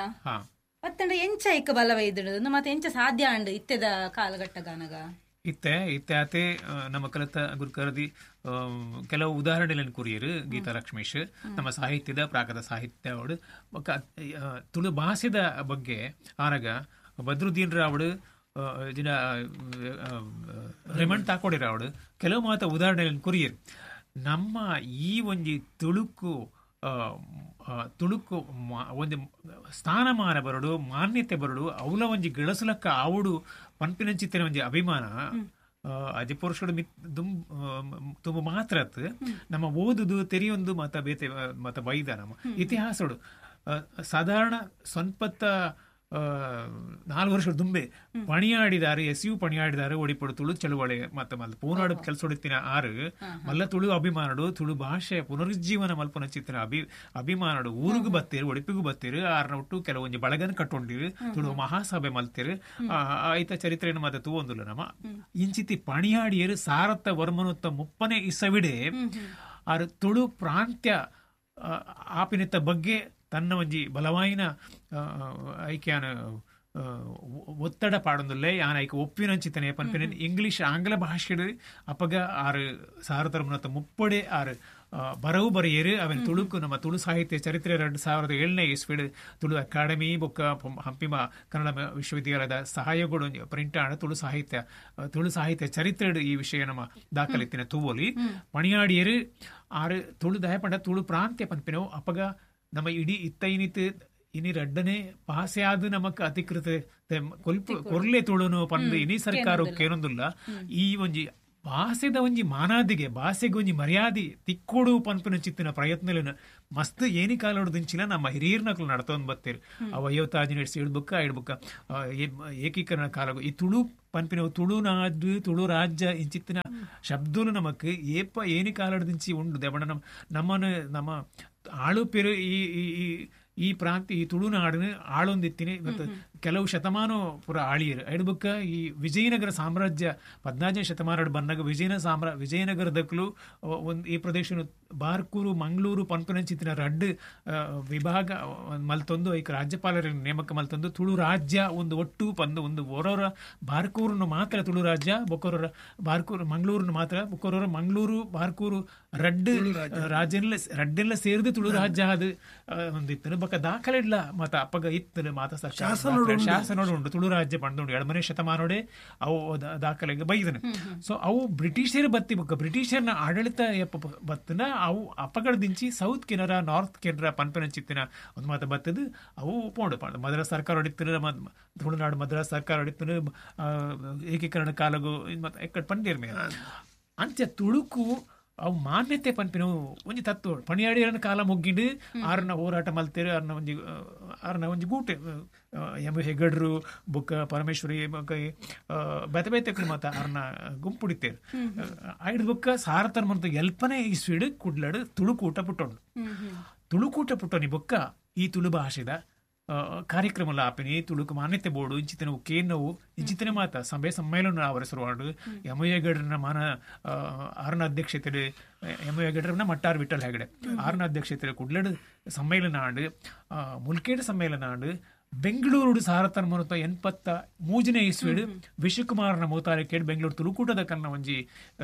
ಮತ್ತಂಡ ಎಂಚ ಐಕ್ ಬಲ ಬೈದಿಡು ಮತ್ತೆ ಎಂಚ ಸಾಧ್ಯ ಅಂಡು ಇತ್ತೆದ ಕಾಲಘಟ್ಟಗಾನಗ ಇತ್ತೆ ಇತ್ತೆ ಆತೆ ನಮ್ಮ ಕಲಿತ ಗುರುಕರದಿ ಕೆಲವು ಉದಾಹರಣೆಗಳನ್ನು ಕುರಿಯರು ಗೀತಾ ಲಕ್ಷ್ಮೀಶ್ ನಮ್ಮ ಸಾಹಿತ್ಯದ ಪ್ರಾಕೃತ ಸಾಹಿತ್ಯ ಅವಡು ತುಳು ಭಾಷೆದ ಬಗ್ಗೆ ಆನಗ ಬದ್ರುದ್ದೀನ್ ರಾವಡು ಜಿನ ರೆಮಂಡ್ ತಾಕೋಡಿರಾವಡು ಕೆಲವು ಮಾತ ಉದಾಹರಣೆಗಳನ್ನು ಕುರಿಯರು ನಮ್ಮ ಈ ಒಂಜಿ ತುಳುಕು ತುಳುಕು ಒಂದು ಸ್ಥಾನಮಾನ ಬರಡು ಮಾನ್ಯತೆ ಬರಡು ಅವಲ ಒಂಜಿ ಗಳಸುಲಕ್ಕ ಆವುಡು ಪನ್ಪಿನಂಚಿತ್ತಿನ ಒಂಜಿ ಅಭಿಮಾನ ಅಜಿ ಪುರುಷಡು ತುಂಬ ಮಾತ್ರ ನಮ್ಮ ಓದುದು ತೆರೆಯೊಂದು ಮತ ಬೇತೆ ಮತ ಬೈದ ನಮ್ಮ ಇತಿಹಾಸಡು ಸಾಧಾರಣ ಸ್ವಲ್ಪತ್ತ 4 ವರ್ಷ ದುಂಬೆ ಪಣಿಯಾಡಿದಾರೆ ಎಸ್ you ಪಣಿಯಾಡಿದಾರೆ ಒಡಿಪಡು ತುಳು ಚಳುವಳಿ ಮತ್ತೆ ಮಲ್ಲ ಪೂನಾಡು ಕೆಲಸ ಹೊಡಿತಿನ ಆರು ಮಲ್ಲ ತುಳು ಅಭಿಮಾನಡು ತುಳು ಭಾಷೆ ಪುನರುಜ್ಜೀವನ ಮಲ್ಪನ ಚಿತ್ತಿನ ಅಭಿಮಾನಡು ಊರಿಗೂ ಬತ್ತೀರು ಒಡಿಪಿಗೂ ಬತ್ತೀರು ಆರ್ನ ಒಟ್ಟು ಕೆಲವೊಂಜಿ ಬಳಗನ ಕಟ್ಟೊಂಡಿರು ತುಳು ಮಹಾಸಭೆ ಮಲ್ತಿರು ಐತ ಚರಿತ್ರೆಯನ್ನು ಮತ್ತೆ ತೂವೊಂದುಲ್ಲ ನಮ್ಮ ಇಂಚಿತಿ ಪಣಿಯಾಡಿಯರು ಸಾರತ್ತ ವರ್ಮನುತ್ತ 30ನೇ ಇಸವಿಡೆ ಆರು ತುಳು ಪ್ರಾಂತ್ಯ ಆಪಿನಿತ್ತ ಬಗ್ಗೆ ತನ್ನ ಒಂಜಿ ಬಲವಾಯಿನ ಐಕ್ಯಾನ ಒತ್ತಡ ಪಾಡೊಂದುಲ್ಲೆ ಯಾನ್ ಐಕ್ ಒಪ್ಪಿನಂಚಿತನೆ ಪನ್ಪಿನ ಇಂಗ್ಲಿಷ್ ಆಂಗ್ಲ ಭಾಷೆ ಅಪಗ ಆರು ಸಾವಿರದ ಮುಪ್ಪಡೆ ಆರು ಬರವು ಬರೆಯರು. ಅವೆನ್ ತುಳುಕು ನಮ್ಮ ತುಳು ಸಾಹಿತ್ಯ ಚರಿತ್ರೆ 2007ನೇ ಇಸ್ವಿಡ್ ತುಳು ಅಕಾಡೆಮಿ ಬೊಕ್ಕ ಹಂಪಿಮ ಕನ್ನಡ ವಿಶ್ವವಿದ್ಯಾಲಯದ ಸಹಾಯಗಳು ಪ್ರಿಂಟ್ ಆಣ ತುಳು ಸಾಹಿತ್ಯ ಚರಿತ್ರೆ ಈ ವಿಷಯ ನಮ್ಮ ದಾಖಲೆತ್ತಿನ ತೂವೊಲಿ. ಪಣಿಯಾಡಿಯರು ಆರು ತುಳು ದಯಪಂಡ ತುಳು ಪ್ರಾಂತ್ಯ ಪನ್ಪಿನವು ಅಪಗ ನಮ್ಮ ಇಡೀ ಇತ್ತೈನಿತ್ ಇನಿ ರಡ್ಡನೆ ಪಾಸೆ ಆದ ನಮಕ್ ಅಧಿಕೃತ ಕೊರ್ಲೆ ತುಳುನು ಪಂದು ಇನಿ ಸರ್ಕಾರ ಕೇನೊಂದುಲ್ಲ. ಈ ಒಂಜಿ ಭಾಷೆದ ಒಂಜಿ ಮಾನಾದಿಗೆ ಭಾಷೆಗೆ ಒಂಜಿ ಮರ್ಯಾದೆ ತಿಕ್ಕೋಡು ಪನ್ಪಿನ ಚಿತ್ತಿನ ಪ್ರಯತ್ನಲೇನು ಮಸ್ತ್ ಏನಿ ಕಾಲೋಡು ದಿಂಚಿಲ ನಮ್ಮ ಹಿರಿಯರ್ನಕ್ಲು ನಡ್ತೊಂದು ಬತ್ತೀರು. ಅವ 55 ಇಡ್ಬುಕ್ಕ ಇಡ್ಬುಕ್ಕ ಏಕೀಕರಣ ಕಾಲಗು ಈ ತುಳು ಪನ್ಪಿನವು ತುಳುನಾಡು ತುಳು ರಾಜ್ಯ ಇಂಚಿತ್ತಿನ ಶಬ್ದಲು ನಮಕ್ ಏಪ ಏನಿ ಕಾಲೋಡು ದಿಂಚಿ ಉಂಡು. ದೇವಣ್ಣ ನಮ್ಮನ್ನು ನಮ್ಮ ಆಳುಪೆರು ಈ ಈ ಈ ಪ್ರಾಂತ್ಯ ಈ ತುಳುನಾಡನ್ನು ಆಳೊಂದಿತ್ತೀನಿ ಮತ್ತು ಕೆಲವು ಶತಮಾನ ಪುರ ಆಳಿಯರು. ಐಡ್ಬುಕ್ಕ ಈ ವಿಜಯನಗರ ಸಾಮ್ರಾಜ್ಯ 14ನೇ ಶತಮಾನ ಬಂದಾಗ ವಿಜಯನಗರದಕ್ಕಲು ಒಂದು ಈ ಪ್ರದೇಶ ಬಾರ್ಕೂರು ಮಂಗಳೂರು ಪನ್ಪನಂಚಿತ್ತಿನ ರಡ್ಡು ವಿಭಾಗ ಮಲ್ತೊಂದು ಐಕ್ ರಾಜ್ಯಪಾಲರ ನೇಮಕ ಮಲ್ತೊಂದು ತುಳು ರಾಜ್ಯ ಒಂದು ಒಟ್ಟು ಪಂದು ಒಂದು ಓರೋರ ಬಾರ್ಕೂರನ್ನು ಮಾತ್ರ ತುಳು ರಾಜ್ಯ, ಬೊಕ್ಕೋರ ಬಾರ್ಕೂರು ಮಂಗಳೂರನ್ನು ಮಾತ್ರ, ಬೊಕ್ಕೋರ ಮಂಗಳೂರು ಬಾರ್ಕೂರು ರಡ್ಡು ರಾಜ್ಯನೆಲ್ಲ ರಡ್ಡೆಲ್ಲ ಸೇರಿದು ತುಳು ರಾಜ್ಯ ಅದು ಒಂದಿತ್ತು. ಬೊಕ್ಕ ದಾಖಲೆ ಇಲ್ಲ ಮತ ಅಪ್ಪಗ ಇತ್ತು ಮಾತ ಶಾಸನೋಡು ಉಂಟು ತುಳು ರಾಜ್ಯ ಪಂದುಂಡು 7ನೇ ಶತಮಾನೋಡೆ ಅವು ದಾಖಲೆಗೆ ಬೈದನೆ. ಸೊ ಅವು ಬ್ರಿಟಿಷರು ಬತ್ತಿ ಬೊಕ್ಕ ಬ್ರಿಟಿಷರ್ನ ಆಡಳಿತ ಬತ್ತನ ಅವು ಅಪ್ಪಗಡದಿಂಚಿ ಸೌತ್ ಕೆನರಾ ನಾರ್ತ್ ಕೆನರಾ ಪನ್ಪನಂಚಿತ್ತಿನ ಒಂದು ಮಾತ ಬತ್ತದು ಅವು ಪೋಂಡು ಪಂಡು ಮದ್ರಾಸ್ ಸರ್ಕಾರ ಹೊಡಿತು, ತುಳುನಾಡು ಮದ್ರಾಸ್ ಸರ್ಕಾರ ಹೊಡಿತು ಏಕೀಕರಣ ಕಾಲಗು ಮತ್ತೆ ಎಕ್ಕಡ್ ಪಂಡೇರ್ ಮೇಲೆ ಅಂಚ ತುಳುಕು ಅವು ಮಾನ್ಯತೆ ಪನ್ಪಿನವು ಒಂಜಿ ತತ್ವ. ಪಣಿಯಾಡಿಯರನ ಕಾಲ ಮುಗ್ಗಿಂಡು ಆರನ ಹೋರಾಟ ಮಲ್ತೇರು ಆರನ ಒಂಜಿ ಗೂಟೆ ಎಂ ಹೆಗಡ್ರು ಬೊಕ್ಕ ಪರಮೇಶ್ವರಿ ಬೊಕ್ಕ ಬೇತೆ ಬೇತೆ ಮಾತ ಆರನ ಗುಂಪುಡಿತೇರು. ಐದು ಬೊಕ್ಕ ಸಾರತನ ಮಂತ ಎಲ್ಪನೇ ಈ ಸ್ವೀಡು ಕುಡ್ಲಡು ತುಳುಕೂಟ ಪುಟ್ಟೊಂಡು. ತುಳುಕೂಟ ಪುಟ್ಟೊನಿ ಬೊಕ್ಕ ಈ ತುಳು ಭಾಷೆದ ಕಾರ್ಯಕ್ರಮ ಆಪಿನಿ ತುಳುಕು ಮಾನ್ಯತೆ ಬೋರ್ಡು ಇಂಚಿತನ ಕೇನವು ಇಂಚಿತನ ಮಾತ ಸಭೆ ಸಮ್ಮೇಳನ ಅವರಸರುವಾಡು ಯಮಯ್ಯಗಡ್ರನ ಮಾನ ಆರನ ಅಧ್ಯಕ್ಷತೆ ಯಮಯ್ಯಗಡ್ರನ ಮಟ್ಟಾರ್ ವಿಠಲ್ ಹೆಗಡೆ ಆರನ ಅಧ್ಯಕ್ಷತೆ ಕುಡ್ಲಡು ಸಮ್ಮೇಳನ ಆಂಡು ಮುಲ್ಕೇಡು ಸಮ್ಮೇಳನ ಆಂಡು ಬೆಂಗಳೂರು ಸಾರತನ ಮುನತ 83ನೇ ಇಸ್ವಿಡು ವಿಶ್ವಕುಮಾರನ ಮುತಾಲಿಕೇಡು ಬೆಂಗಳೂರು ತುಳುಕೂಟದ ಕನ್ನ ಒಂಜಿ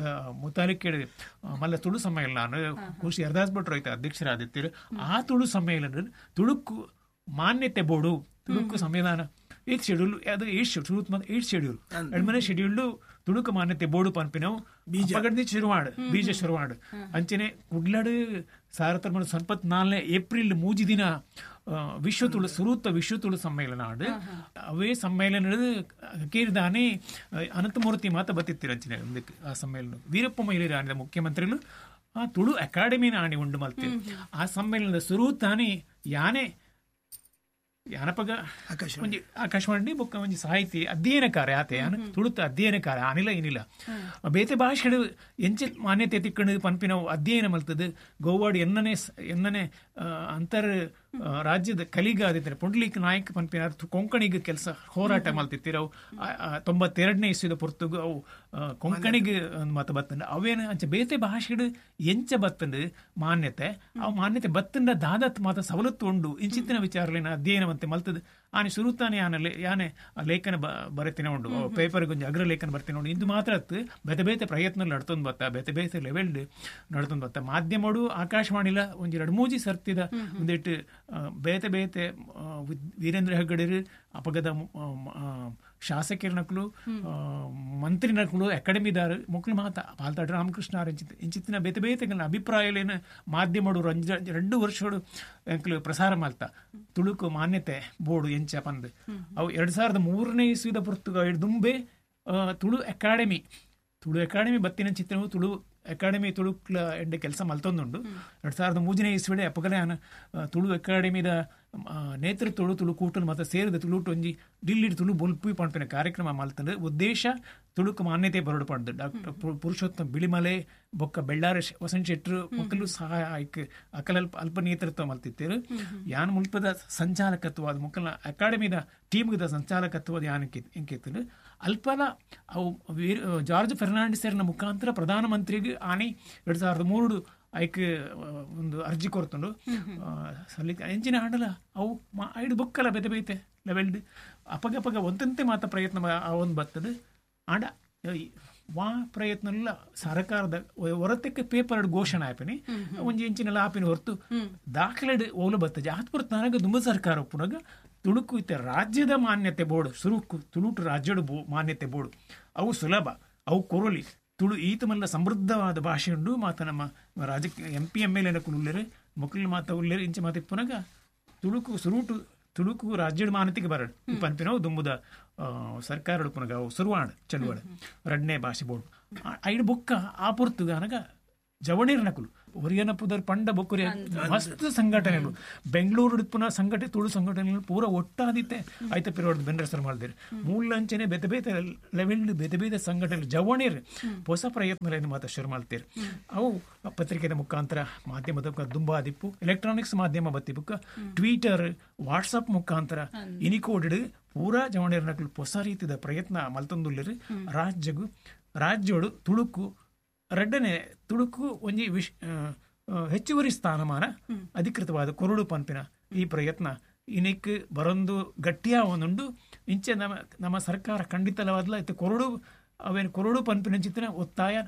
ಮುತಾಲಿಕೇಡು ಮಲ್ಲ ತುಳು ಸಮ್ಮೇಳನ ಖುಷಿ ಹರದಾಸ್ ಭಟ್ರು ಐತೆ ಅಧ್ಯಕ್ಷರಾದಿತ್ತಿರು. ಆ ತುಳು ಸಮ್ಮೇಳನ ತುಳುಕು ಮಾನ್ಯತೆ ಬೋರ್ಡು ತುಳುಕು ಸಂವಿಧಾನ ಏಟ್ ಶೆಡ್ಯೂಲ್ ಅದು ಏಟ್ ಶೆಡ್ಯೂಲ್ ಏಟ್ ಶೆಡ್ಯೂಲ್ ಎರಡ್ಮನೆ ಶೆಡ್ಯೂಲ್ ತುಳುಕು ಮಾನ್ಯತೆ ಬೋರ್ಡು ಪನ್ಪಿನವು ಬೀಜ ಶುರುವಾಡು ಬೀಜ ಶುರುವಾಡು. ಅಂಚನೆ ಕುಡ್ಲಡು ಸಾರತನ 74 ಏಪ್ರಿಲ್ 3 ದಿನ ವಿಶ್ವ ತುಳು ಸುರೂತ ವಿಶ್ವ ತುಳು ಸಮ್ಮೇಳನ ಆಡು. ಅವೇ ಸಮ್ಮೇಳನದ ಕೇರಿದಾನೆ ಅನಂತಮೂರ್ತಿ ಮಾತ ಬತ್ತಿತ್ತಿರ ಅಂಚನೆ ಆ ಸಮ್ಮೇಳನ ವೀರಪ್ಪ ಮೊಯ್ಲಿ ಆಡಿದ ಮುಖ್ಯಮಂತ್ರಿಗಳು ಆ ತುಳು ಅಕಾಡೆಮಿನ ಆಣಿ ಉಂಡು ಮಲ್ತೇವೆ. ಆ ಸಮ್ಮೇಳನದ ಸುರೂತಾನೆ ಯಾನೆ ಯಾನಪಗ ಒಂಜಿ ಆಕಾಶವಾಣಿ ಬೊಕ್ಕ ಒಂಜಿ ಸಾಹಿತಿ ಅಧ್ಯಯನಕಾರ ಆತೆ ಯಾನ ತುಳುತ ಅಧ್ಯಯನಕಾರ ಆನಿಲ್ಲ ಏನಿಲ್ಲ ಬೇತೆ ಭಾಷೆಡು ಎಂಚೆ ಮಾನ್ಯತೆ ತಿಕ್ಕಣು ಪನ್ಪಿನವು ಅಧ್ಯಯನ ಮಲ್ತದ್ದು ಗೋವಾಡು ಎನ್ನನೆ ಎನ್ನನೆ ಅಂತರ್ ರಾಜ್ಯದ ಕಲಿಗ ಆದಿತ್ತಾರೆ ಪುಂಡ್ಲೀಕ್ ನಾಯಕ್ ಪನ್ಪಿನ ಕೊಂಕಣಿಗೆ ಕೆಲಸ ಹೋರಾಟ ಮಲ್ತಿತ್ತಿರವು 92ನೇ ಇಸ್ವಿದ ಪೊರ್ತುಗು ಅವು ಕೊಂಕಣಿಗೆ ಮತ ಬತ್ತಂಡು ಅವೇನು ಅಂಚೆ ಬೇತೆ ಭಾಷೆಡು ಎಂಚ ಬತ್ತಂಡು ಮಾನ್ಯತೆ ಅವು ಮಾನ್ಯತೆ ಬತ್ತಂಡ ದಾದತ್ ಮಾತ ಸವಲತ್ತು ಉಂಡು ಇಂಚಿತ್ತಿನ ವಿಚಾರಲೇನ ಅಧ್ಯಯನವಂತೆ ಮಲ್ತದ್ದು ಆನೆ ಸುರುತಾನೆ ಯಾನಲ್ಲಿ ಯಾನೆ ಲೇಖನ ಬರೆತಿನ ಉಂಡು ಪೇಪರ್ಗೆ ಒಂಜಿ ಅಗ್ರ ಲೇಖನ ಬರ್ತಿನ ಉಂಡು. ಇಂದು ಮಾತ್ರ ಅತ್ತು ಬೇತೆ ಬೇತೆ ಪ್ರಯತ್ನ ನಡ್ತೊಂದು ಬತ್ತ ಬೇತೆ ಬೇತೆ ಲೆವೆಲ್ ನಡ್ತೊಂದು ಬತ್ತ ಮಾಧ್ಯಮಡು ಆಕಾಶವಾಣಿಲ ಒಂಜಿ 2-3 ಸರ್ತಿದ ಒಂದಿಟ್ಟು ಬೇತೆ ಬೇತೆ ವೀರೇಂದ್ರ ಹೆಗ್ಗಡೆರು ಅಪಗದ ಶಾಸಕರನಕ್ಲು ಮಂತ್ರಿನಕ್ಲು ಅಕಾಡೆಮಿದಾರ ಮಕ್ಕಳು ಮಾತ ಪಾಲ್ತಾಡ್ ರಾಮಕೃಷ್ಣ ಇಂಚಿತ್ತಿನ ಬೇತೆ ಬೇತೆ ಅಭಿಪ್ರಾಯಲೇನು ಮಾಧ್ಯಮಡು 2 ವರ್ಷಗಳು ಪ್ರಸಾರ ಮಾಲ್ತ ತುಳುಕು ಮಾನ್ಯತೆ ಬೋರ್ಡು ಎಂಚ ಪಂದ್ ಅವು 2003ನೇ ಇಸ್ವಿದ ಪುರ್ತುಗ ದುಂಬೆ ತುಳು ಅಕಾಡೆಮಿ ಬತ್ತಿನ ಚಿತ್ರವು ತುಳು ಅಕಾಡೆಮಿ ತುಳುಕ್ಲ ಎಡ್ಡೆ ಕೆಲಸ ಮಲ್ತೊಂದುಂಡು. 2003ನೇ ಇಸ್ವಿಡೆ ಅಪಗಲೆ ತುಳು ಅಕಾಡೆಮಿದ ನೇತೃತ್ವಡು ತುಳು ಕೂಟನು ಮತ್ತು ಸೇರಿದ ತುಳುಟು ಒಂಜಿ ಡಿಲ್ಲಿ ತುಳು ಬೊಲ್ಪು ಪನ್ಪಿನ ಕಾರ್ಯಕ್ರಮ ಮಲ್ತಂದು ಉದ್ದೇಶ ತುಳುಕು ಮಾನ್ಯತೆ ಬರಡು ಪಂಡು ಡಾಕ್ಟರ್ ಪುರುಷೋತ್ತಮ ಬಿಳಿಮಲೆ ಬೊಕ್ಕ ಬೆಳ್ಳಾರಿ ವಸಂತ ಶೆಟ್ಟರು ಮಕ್ಕಳು ಸಹಾಯ ಆಯ್ಕೆ ಅಕಲಲ್ಪ ಅಲ್ಪ ನೇತೃತ್ವ ಮಲ್ತಿತ್ತೇರು. ಯಾನ್ ಮುಲ್ಪದ ಸಂಚಾಲಕತ್ವ ಅದು ಮುಕ್ಕಲ ಅಕಾಡೆಮಿದ ಟೀಮ್ದ ಸಂಚಾಲಕತ್ವದ ಯಾನ್ ಎಂಕಿತ್ತು ಅಲ್ಪಲ ಅವು ಜಾರ್ಜ್ ಫೆರ್ನಾಂಡಿಸರ್ನ ಮುಖಾಂತರ ಪ್ರಧಾನಮಂತ್ರಿಗೆ ಆನೆ 2003 ಐಕ್ ಒಂದು ಅರ್ಜಿ ಕೊರ್ತುಂಡು ಸಲ್ಲಿಕೆ ಎಂಚಿನ ಹಾಡಲ ಅವು ಐಡು ಬುಕ್ಕಲ ಬೇತೆ ಬೇತೆ ಲೆವೆಲ್ಡ್ ಅಪಗಪಗ ಒಂದಂತೆ ಮಾತ ಪ್ರಯತ್ನ ಒಂದು ಬರ್ತದೆ. ಆಂಡ ವಾ ಪ್ರಯತ್ನ ಸರ್ಕಾರದ ಹೊರತಕ್ಕೆ ಪೇಪರ್ ಘೋಷಣೆ ಆಪಿನಿ ಒಂಜಿ ಇಂಚಿನೆಲ್ಲ ಆಪಿನ ಹೊರತು ದಾಖಲೆ ಓಲು ಬರ್ತದೆ. ಆತ್ ಪುರ್ತು ನನಗೆ ದುಂಬ ಸರ್ಕಾರ ಉಪ್ಪುನಾಗ ತುಳುಕು ಇತ್ತೆ ರಾಜ್ಯದ ಮಾನ್ಯತೆ ಬೋರ್ಡು ಸುರುಕು ತುಳುಟು ರಾಜ್ಯದ ಮಾನ್ಯತೆ ಬೋರ್ಡು ಅವು ಸುಲಭ ಅವು ಕೊರಲಿ ತುಳು ಈತ ಮಲ್ಲ ಸಮೃದ್ಧವಾದ ಭಾಷೆ ಉಂಡು ಮಾತ ನಮ್ಮ ರಾಜಕೀಯ ಎಂ ಪಿ ಎಮ್ ಎಲ್ ಎನಕುಲು ಉಲ್ಲೇರು ಮೊಕ್ಕಲು ಮಾತ ಉಲ್ಲೇರು ಇಂಚ ಮಾತ ಇಪ್ಪುನಾಗ ತುಳುಕು ಸುರುಟು ತುಳುಕು ರಾಜ್ಯದ ಮಾನ್ಯತೆಗೆ ಬರಡು ಪನ್ಪಿನವು ದುಂಬುದ ಸರ್ಕಾರ ಉಪ್ಪುನಾಗ ಅವು ಸುರುವಾಣ ಚಳುವಳ ರಡ್ನೇ ಭಾಷೆ ಬೋರ್ಡು ಐಡು ಬೊಕ್ಕ ಆ ಪೊರ್ತುಗಾನಗ ಜವಣೀರ್ ನಕುಲು ಒರಿಯನ ಪುದರ್ ಪಂಡ ಬೊಕ್ಕುರಿಯ ಮಸ್ತ್ ಸಂಘಟನೆಗಳು ಬೆಂಗಳೂರು ಪುನಃ ಸಂಘಟನೆ ತುಳು ಸಂಘಟನೆಗಳು ಪೂರ ಒಟ್ಟಾದಿತ್ತೆ ಆಯ್ತ ಪಿರೋಡ್ ಬೆನ್ರಸರ್ ಮಾಡಿದಿರಿ ಮೂಲಂಚನೆ ಬೇತೆ ಬೇತೆ ಲೆವೆಲ್ ಬೇತೆ ಬೇತೆ ಸಂಘಟನೆ ಜವಣೀರ್ ಹೊಸ ಪ್ರಯತ್ನಗಳನ್ನು ಮಾತ್ರ ಶುರು ಮಾಡ್ತೀರಿ. ಅವು ಪತ್ರಿಕೆದ ಮುಖಾಂತರ ಮಾಧ್ಯಮದ ದುಂಬಾದಿಪ್ಪು ಎಲೆಕ್ಟ್ರಾನಿಕ್ಸ್ ಮಾಧ್ಯಮ ಬತ್ತಿ ಬುಕ್ಕ ಟ್ವಿಟರ್ ವಾಟ್ಸಪ್ ಮುಖಾಂತರ ಇನಿಕೋಡ್ ಪೂರಾ ಜವಣೀರ್ ನಕಲು ಹೊಸ ರೀತಿಯ ಪ್ರಯತ್ನ ಮಲ್ತೊಂದುಲ್ಲೇರು. ರಾಜ್ಯಗು ರಾಜ್ಯೋಡು ತುಳುಕು ರಡ್ಡನೆ ತುಳುಕು ಒಂಜಿ ಹೆಚ್ಚುವರಿ ಸ್ಥಾನಮಾನ ಅಧಿಕೃತವಾದ ಕೊರಡು ಪಂಪಿನ ಈ ಪ್ರಯತ್ನ ಇನಿಕ್ ಬರೊಂದು ಗಟ್ಟಿಯ ಒಂದುಂಡು. ಇಂಚೆ ನಮ್ಮ ನಮ್ಮ ಸರ್ಕಾರ ಖಂಡಿತಲವಾದಲ ಇತ್ತೆ ಕೊರಡು ಅವೇನು ಕೊರಡು ಪಂಪಿನ ಚಿತ್ತಿನ ಒತ್ತಾಯ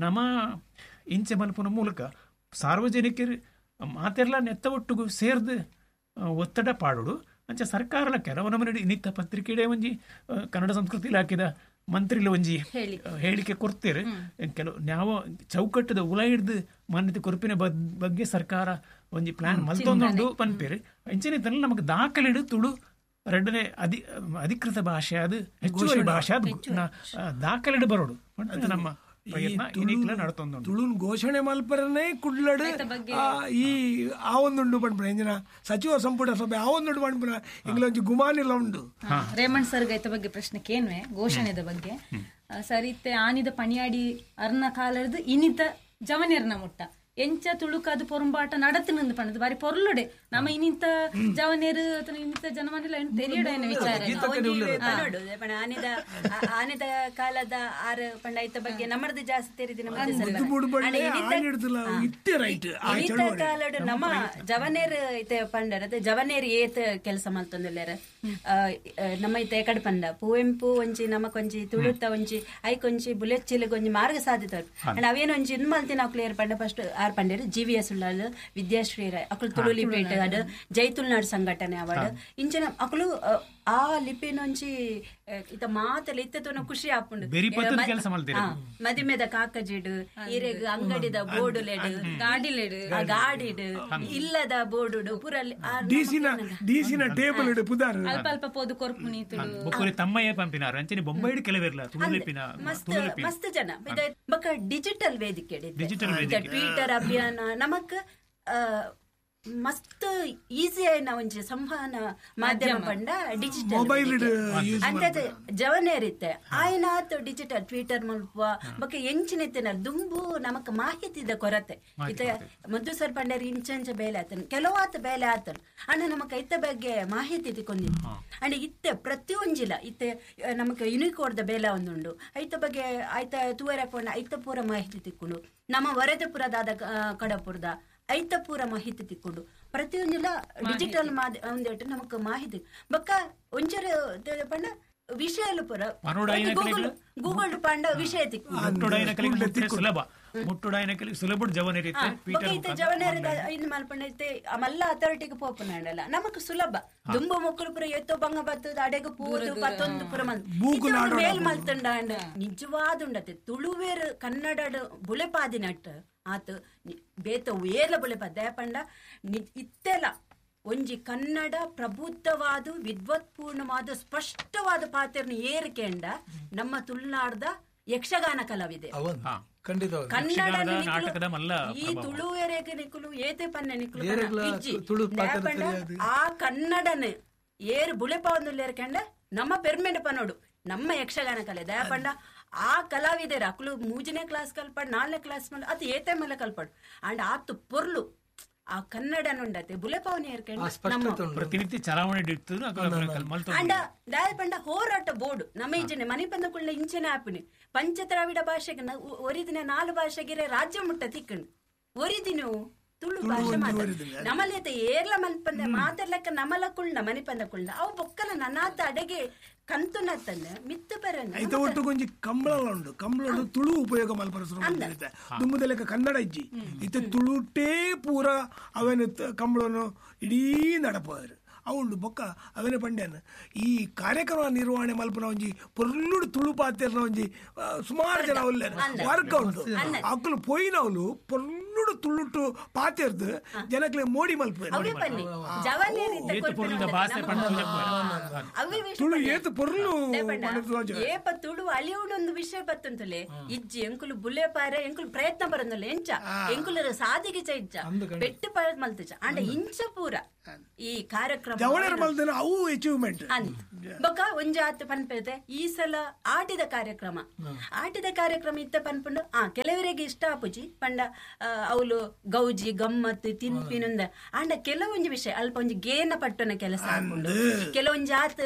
ನಮ್ಮ ಇಂಚೆ ಮಲ್ಪುನ ಮೂಲಕ ಸಾರ್ವಜನಿಕರು ಮಾತೆಲ್ಲ ನೆತ್ತ ಒಟ್ಟುಗು ಸೇರ್ದು ಒತ್ತಡ ಪಾಡೋಡು. ಅಂಚೆ ಸರ್ಕಾರಲ ಕೆಲವು ನಮ್ಮನೆ ಇನ್ನಿತ್ತ ಪತ್ರಿಕೆಡೆ ಒಂಜಿ ಕನ್ನಡ ಸಂಸ್ಕೃತಿ ಇಲಾಖೆದ ಮಂತ್ರಿಲು ಒಂಜಿ ಹೇಳಿಕೆ ಕೊಡ್ತೀರಿ. ಕೆಲವು ನಾವು ಚೌಕಟ್ಟದ ಉಲ ಹಿಡ್ದು ಮಾನ್ಯತೆ ಕೊರಪಿನ ಬಗ್ಗೆ ಸರ್ಕಾರ ಒಂಜಿ ಪ್ಲಾನ್ ಮಲ್ತೊಂದುಂಡು ಪನ್ಪೇರು. ಇಂಚಿನ ನಮಗೆ ದಾಖಲೆ ತುಳು ಎರಡನೇ ಅಧಿಕೃತ ಭಾಷೆ ಅದು ಹೆಚ್ಚುವರಿ ಭಾಷೆ ಅದು ದಾಖಲೆ ಬರೋಡು ನಮ್ಮ ಪ್ರಯತ್ನ ಇನಿಕ್ಲ ನಡತೊಂದುಂಡು. ತುಳುನ್ ಘೋಷಣೆ ಮಲ್ಪರನೇ ಕುಡ್ಲಡು ಈ ಆ ಒಂದುಂಡು ಪನ್ಪುನ ಇಂಜಿನ ಸಚಿವ ಸಂಪುಟ ಸಭೆ ಆ ಒಂದುಂಡು ಪನ್ಪುನ ಇಂಗ್ಲೊಂಜಿ ಗುಮಾನಿಲ ಉಂಡು. ರೇಮಣ್ ಸರ್ ಐತ ಬಗ್ಗೆ ಪ್ರಶ್ನೆ ಕೇನ್ವೆ ಘೋಷಣೆದ ಬಗ್ಗೆ ಸರಿತೆ ಆನಿದ ಪಣಿಯಾಡಿ ಅರ್ನ ಕಾಲರ್ದು ಇನಿತ ಜವನಿರ್ನ ಮುಟ್ಟ ಎಂಚ ತುಳುಕಾದ ಪೊರಂಬಾಟ ನಡತಿನಂದು ಪಣದು ಬಾರಿ ಪೊರ್ಲುಡೆ ನಮ್ಮ ಇನ್ನಿಂತ ಜವನೇರು ಅಥವಾ ಇನ್ನಿಂತ ಜನಮನೆಲ್ಲ ತೆರಿಯಡ ವಿಚಾರ ಆನೆದ ಕಾಲದ ಆರು ಪಂಡ ಐತ ಬಗ್ಗೆ ನಮ್ಮದು ಜಾಸ್ತಿ ತೆರಿದಿ ಕಾಲಡು ನಮ್ಮ ಜವನೇರು ಐತೆ ಪಂಡರ ಜವನೇರು ಏತ್ ಕೆಲಸ ಮಲ್ತೊಂದುಲ್ಲೇರ ನಮ್ಮ ಇತ್ತೆ ಎಕಡೆ ಪಂಡ ಪುವೆಂಪು ಒಂಜಿ ನಮಕೊಂಜಿ ತುಳುತ್ತ ಒಂಜಿ ಐಕೊಂಜಿ ಬುಲೆಚ್ಚಿಲಗೊಂಜಿ ಮಾರ್ಗ ಸಾಧಿತ ಅಂಡ್ ಅವೇನೊಂಜಿ ಇನ್ ಮಲ್ತಿನ ಅಕ್ಲೇರ್ ಪಂಡ ಫಸ್ಟ್ ಆರ್ ಪಂಡೇರು G V S Ullal Vidyashree Rai ಅಕುಲು ತುಳು ಲಿಪಿ ಅಡ್ ಜೈ ತುಳುನಾಡು ಸಂಘಟನೆ ಅವಾರ್ಡ್ ಇಂಚಿನ ಅಕುಲು ಆ ಲಿಪಿನೊಂಜಿ ಇತ್ತ ಮಾತಲ್ಲ ಇತ್ತ ತೋನ ಖುಷಿ ಆಪುಂಡು ಮದಿಮೆದ ಕಾಕಜಿಡು ಇರೆಗ್ ಅಂಗಡಿದ ಬೋರ್ಡುಲೆಡು ಗಾಡಿಲೆಡು ಗಾಡಿಡು ಇಲ್ಲದ ಬೋರ್ಡು ಪೂರ ಟೇಬಲ್ ಅಲ್ಪ ಅಲ್ಪ ಪೋದು ಕೊರ್ಪುನಿ ತುಳು ತಮ್ಮಯ್ಯ ಪಂಪಿನಾರು ಅಂಚನೆ ಬೊಂಬೈಡ್ ಕೆಲವೆರ್ಲ ತುಳು ಲಿಪಿನ ಮಸ್ತ್ ಮಸ್ತ್ ಜನ ಬೊಕ ಡಿಜಿಟಲ್ ವೇದಿಕೆ ಟ್ವಿಟರ್ ಅಭಿಯಾನ ನಮಕ್ ಮಸ್ತ್ ಈಸಿ ಆಯ್ನ ಒಂಜಿ ಸಂವಹನ ಮಾಧ್ಯಮ ಪಂಡ ಡಿಜಿಟಲ್ ಅಂತ ಜವನೇರಿತ್ತೆ ಆಯ್ನಾತ್ ಡಿಜಿಟಲ್ ಟ್ವಿಟರ್ ಮಲ್ಪ ಬೊಕ ಎಂಚಿನ ದುಂಬು ನಮಕ್ ಮಾಹಿತಿದ ಕೊರತೆ ಇತ್ತ ಮದ್ದು ಸರ್ ಪಂಡೇರ್ ಇಂಚಂಚ ಬೇಲೆ ಆತನ ಕೆಲವಾತ ಬೇಲೆ ಆತನ ಅಣ್ಣ ನಮಕ್ ಐತ ಬಗ್ಗೆ ಮಾಹಿತಿ ತಿಕ್ಕೊಂದಿತ್ತು ಅಂಡ್ ಇತ್ತೆ ಪ್ರತಿಯೊಂಜಿಲ ಇತ್ತೆ ನಮಕ್ ಯುನಿಕೋಡ್ದ ಬೇಲೆ ಒಂದುಂಡು ಐತ ಬಗ್ಗೆ ಐತ ತೂವರೆ ಪೋಂಡ ಐತ ಪೂರ ಮಾಹಿತಿ ತಿಕ್ಕೊಂಡು ನಮ್ಮ ವರದಪುರದಾದ ಕಡಪುರದ ಐತ ಪೂರ ಮಾಹಿತಿ ತಿಕ್ಕೊಂಡು ಪ್ರತಿಯೊಂದಿಲ್ಲ ಡಿಜಿಟಲ್ ಒಂದೇಟು ನಮಕ್ ಮಾಹಿತಿ ಬೊಕ್ಕ ಒಂಚೂರು ಪಂಡ ವಿಷಯ ಪೂರ ಗೂಗಲ್ ಗೂಗಲ್ ಪಂಡ ವಿಷಯ ತಿಕ್ಕು ಜವನೇರ ಇನ್ ಮಲ್ಪಂಡ ಇತ್ತೆ ಮಲ್ಲ ಅಥಾರಿಟಿಗೆ ಪೋಪುನಂಡಲ್ಲ ನಮಕ್ ಸುಲಭ ದುಂಬ ಮೊಕ್ಕಲು ಪೂರ ಎತ್ತೋ ಬಂಗ ಬತ್ತದ ಅಡೆಗೆ ಪೂದು ಪತ್ತೊಂದು ಪೂರ ಮೇಲ್ ಮಲ್ತಂಡ ನಿಜವಾದುಂಡತೆ ತುಳುವೇರು ಕನ್ನಡ ಬುಲೆಪಾದಿನಟ್ ಆತ ಬೇತ ಏಲ ಬುಲೆಪ ದಯಪಂಡ ಇತ್ತೆಲ ಒಂಜಿ ಕನ್ನಡ ಪ್ರಬುದ್ಧವಾದ ವಿದ್ವತ್ಪೂರ್ಣವಾದ ಸ್ಪಷ್ಟವಾದ ಪಾತ್ರನ ಏರಿಕೆಂಡ ನಮ್ಮ ತುಳುನಾಡ್ದ ಯಕ್ಷಗಾನ ಕಲಾವಿದೆ ಕನ್ನಡ ಈ ತುಳುವೆರೆಗೆ ನಿಕುಲು ಏತೆ ಪನ್ನೆ ನಿಕುಲು ಆ ಕನ್ನಡನ ಏರು ಬುಲೆಪವಂದುಲ್ಲೇರ್ಕೆಂಡ ನಮ್ಮ ಪೆರ್ಮೆಂಟ್ ಪನೋಡು ನಮ್ಮ ಯಕ್ಷಗಾನ ಕಲೆ ದಯಪಂಡ ಆ ಕಲಾವಿದರ ಅಕುಲು ಮೂಜನೇ ಕ್ಲಾಸ್ ಕಲ್ಪಾಡು ನಾಲ್ನೇ ಕ್ಲಾಸ್ ಮಲ್ಲ ಅದು ಏತೆ ಮಲ್ಲ ಕಲ್ಪಾಡು ಅಂಡ್ ಆತು ಪೊರ್ಲು ಆ ಕನ್ನಡ ನುಂಡತೆ ಬುಲೆಪಾವನೆ ಪ್ರತಿನಿತ್ಯ ಚಲಾವಣೆ ಅಂಡ ದಾಯಪಂಡ ಹೋರಾಟ ಬೋರ್ಡ್ ನಮ್ಮ ಇಂಚನೆ ಮನೆ ಬಂದ ಇಂಚನೆ ಆಪಿನಿ ಪಂಚದ್ರಾವಿಡ ಭಾಷೆಗೆ ಒರಿದಿನ 4 ಭಾಷೆಗೆ ರಾಜ್ಯ ಮುಟ್ಟ ತಿಕ್ಕಂಡು ಒರಿದಿನ ತುಳು ಭಾಷೆ ಮಾತಾಡ ನಮಲೇತ ಏರ್ಲ ಮನ್ಪಂದ ಮಾತಾಡ್ಲಕ್ಕ ನಮಲ ಕುಳ್ಳ ಮನಿಪಂದ ಕುಳ್ಳ ಅವು ಬೊಕ್ಕಲ ನನಾತ ಅಡಗೆ ಕಂತುನತ್ತನ್ನ ಮಿತ್ತು ಪರನ್ನ ಐತ ಒಟ್ಟು ಕೊಂಜಿ ಕಂಬಳ ಉಂಡು ಕಂಬಳ ತುಳು ಉಪಯೋಗ ಮಲ್ಪರ ಶುರು ದುಮ್ಮದ ಕನ್ನಡ ಇಜ್ಜಿ ಇತ್ತೆ ತುಳುಟೇ ಪೂರ ಅವೇನು ಕಂಬಳನು ಇಡೀ ನಡಪರು ಅವುಂಡು ಬೊಕ್ಕ ಅವೇನೆ ಪಂಡ್ಯಾನ ಈ ಕಾರ್ಯಕ್ರಮ ನಿರ್ವಹಣೆ ಮಲ್ಪನ ಒಂಜಿ ಪೊರ್ಲುಡು ತುಳು ಪಾತೆರ್ನ ಒಂಜಿ ಸುಮಾರು ಜನ ಉಲ್ಲೇರು ವರ್ಗ ಉಂಡು ಅಕ್ಕಲು ಪೋಯಿನವಲು ಪೊರ್ಲುಡು ತುಳುಟು ಪಾತೆರ್ದು ಜನಕ್ಲೆ ಮೋಡಿ ಮಲ್ಪುವೆರ್ ತುಳು ಏತು ಪೊರ್ಲು ಏಪ ತುಳು ಅಳಿಯುಡೊಂದು ವಿಷಯ ಬತ್ತಂತಲೆ ಇಜ್ಜಿ ಎಂಕುಲು ಬುಲೆ ಪಾರೆ ಎಂಕುಲು ಪ್ರಯತ್ನ ಬರಂದಲ್ಲ ಎಂಚ ಎಂಕುಲರ ಸಾದಿಗೆ ಚ ಇಜ್ಜ ಪೆಟ್ಟು ಪರ ಮಲ್ತುಚ ಅಂಡ ಇಂಚ ಪೂರ ಈ ಕಾರ್ಯಕ್ರಮ ಅವು ಅಚೀವ್ಮೆಂಟ್ ಅಂತ ಬೊಕ್ಕ ಒಂಜಾತ್ ಪನ್ಪೆದೆ ಈ ಸಲ ಆಟಿದ ಕಾರ್ಯಕ್ರಮ ಆಟಿದ ಕಾರ್ಯಕ್ರಮ ಇತ್ತ ಪನ್ಪುಂಡು ಆ ಕೆಲವರಿಗೆ ಇಷ್ಟ ಆಪುಜಿ ಪಂಡ ಅವಳು ಗೌಜಿ ಗಮ್ಮತ್ತು ತಿನ್ಪಿನುಂದ ಅಂಡ ಕೆಲವೊಂಜಿ ವಿಷಯ ಅಲ್ಪ ಒಂಜಿ ಗೇನ ಪಟ್ಟನ ಕೆಲಸ ಆಪುಂಡು ಕೆಲವೊಂಜಿ ಆತ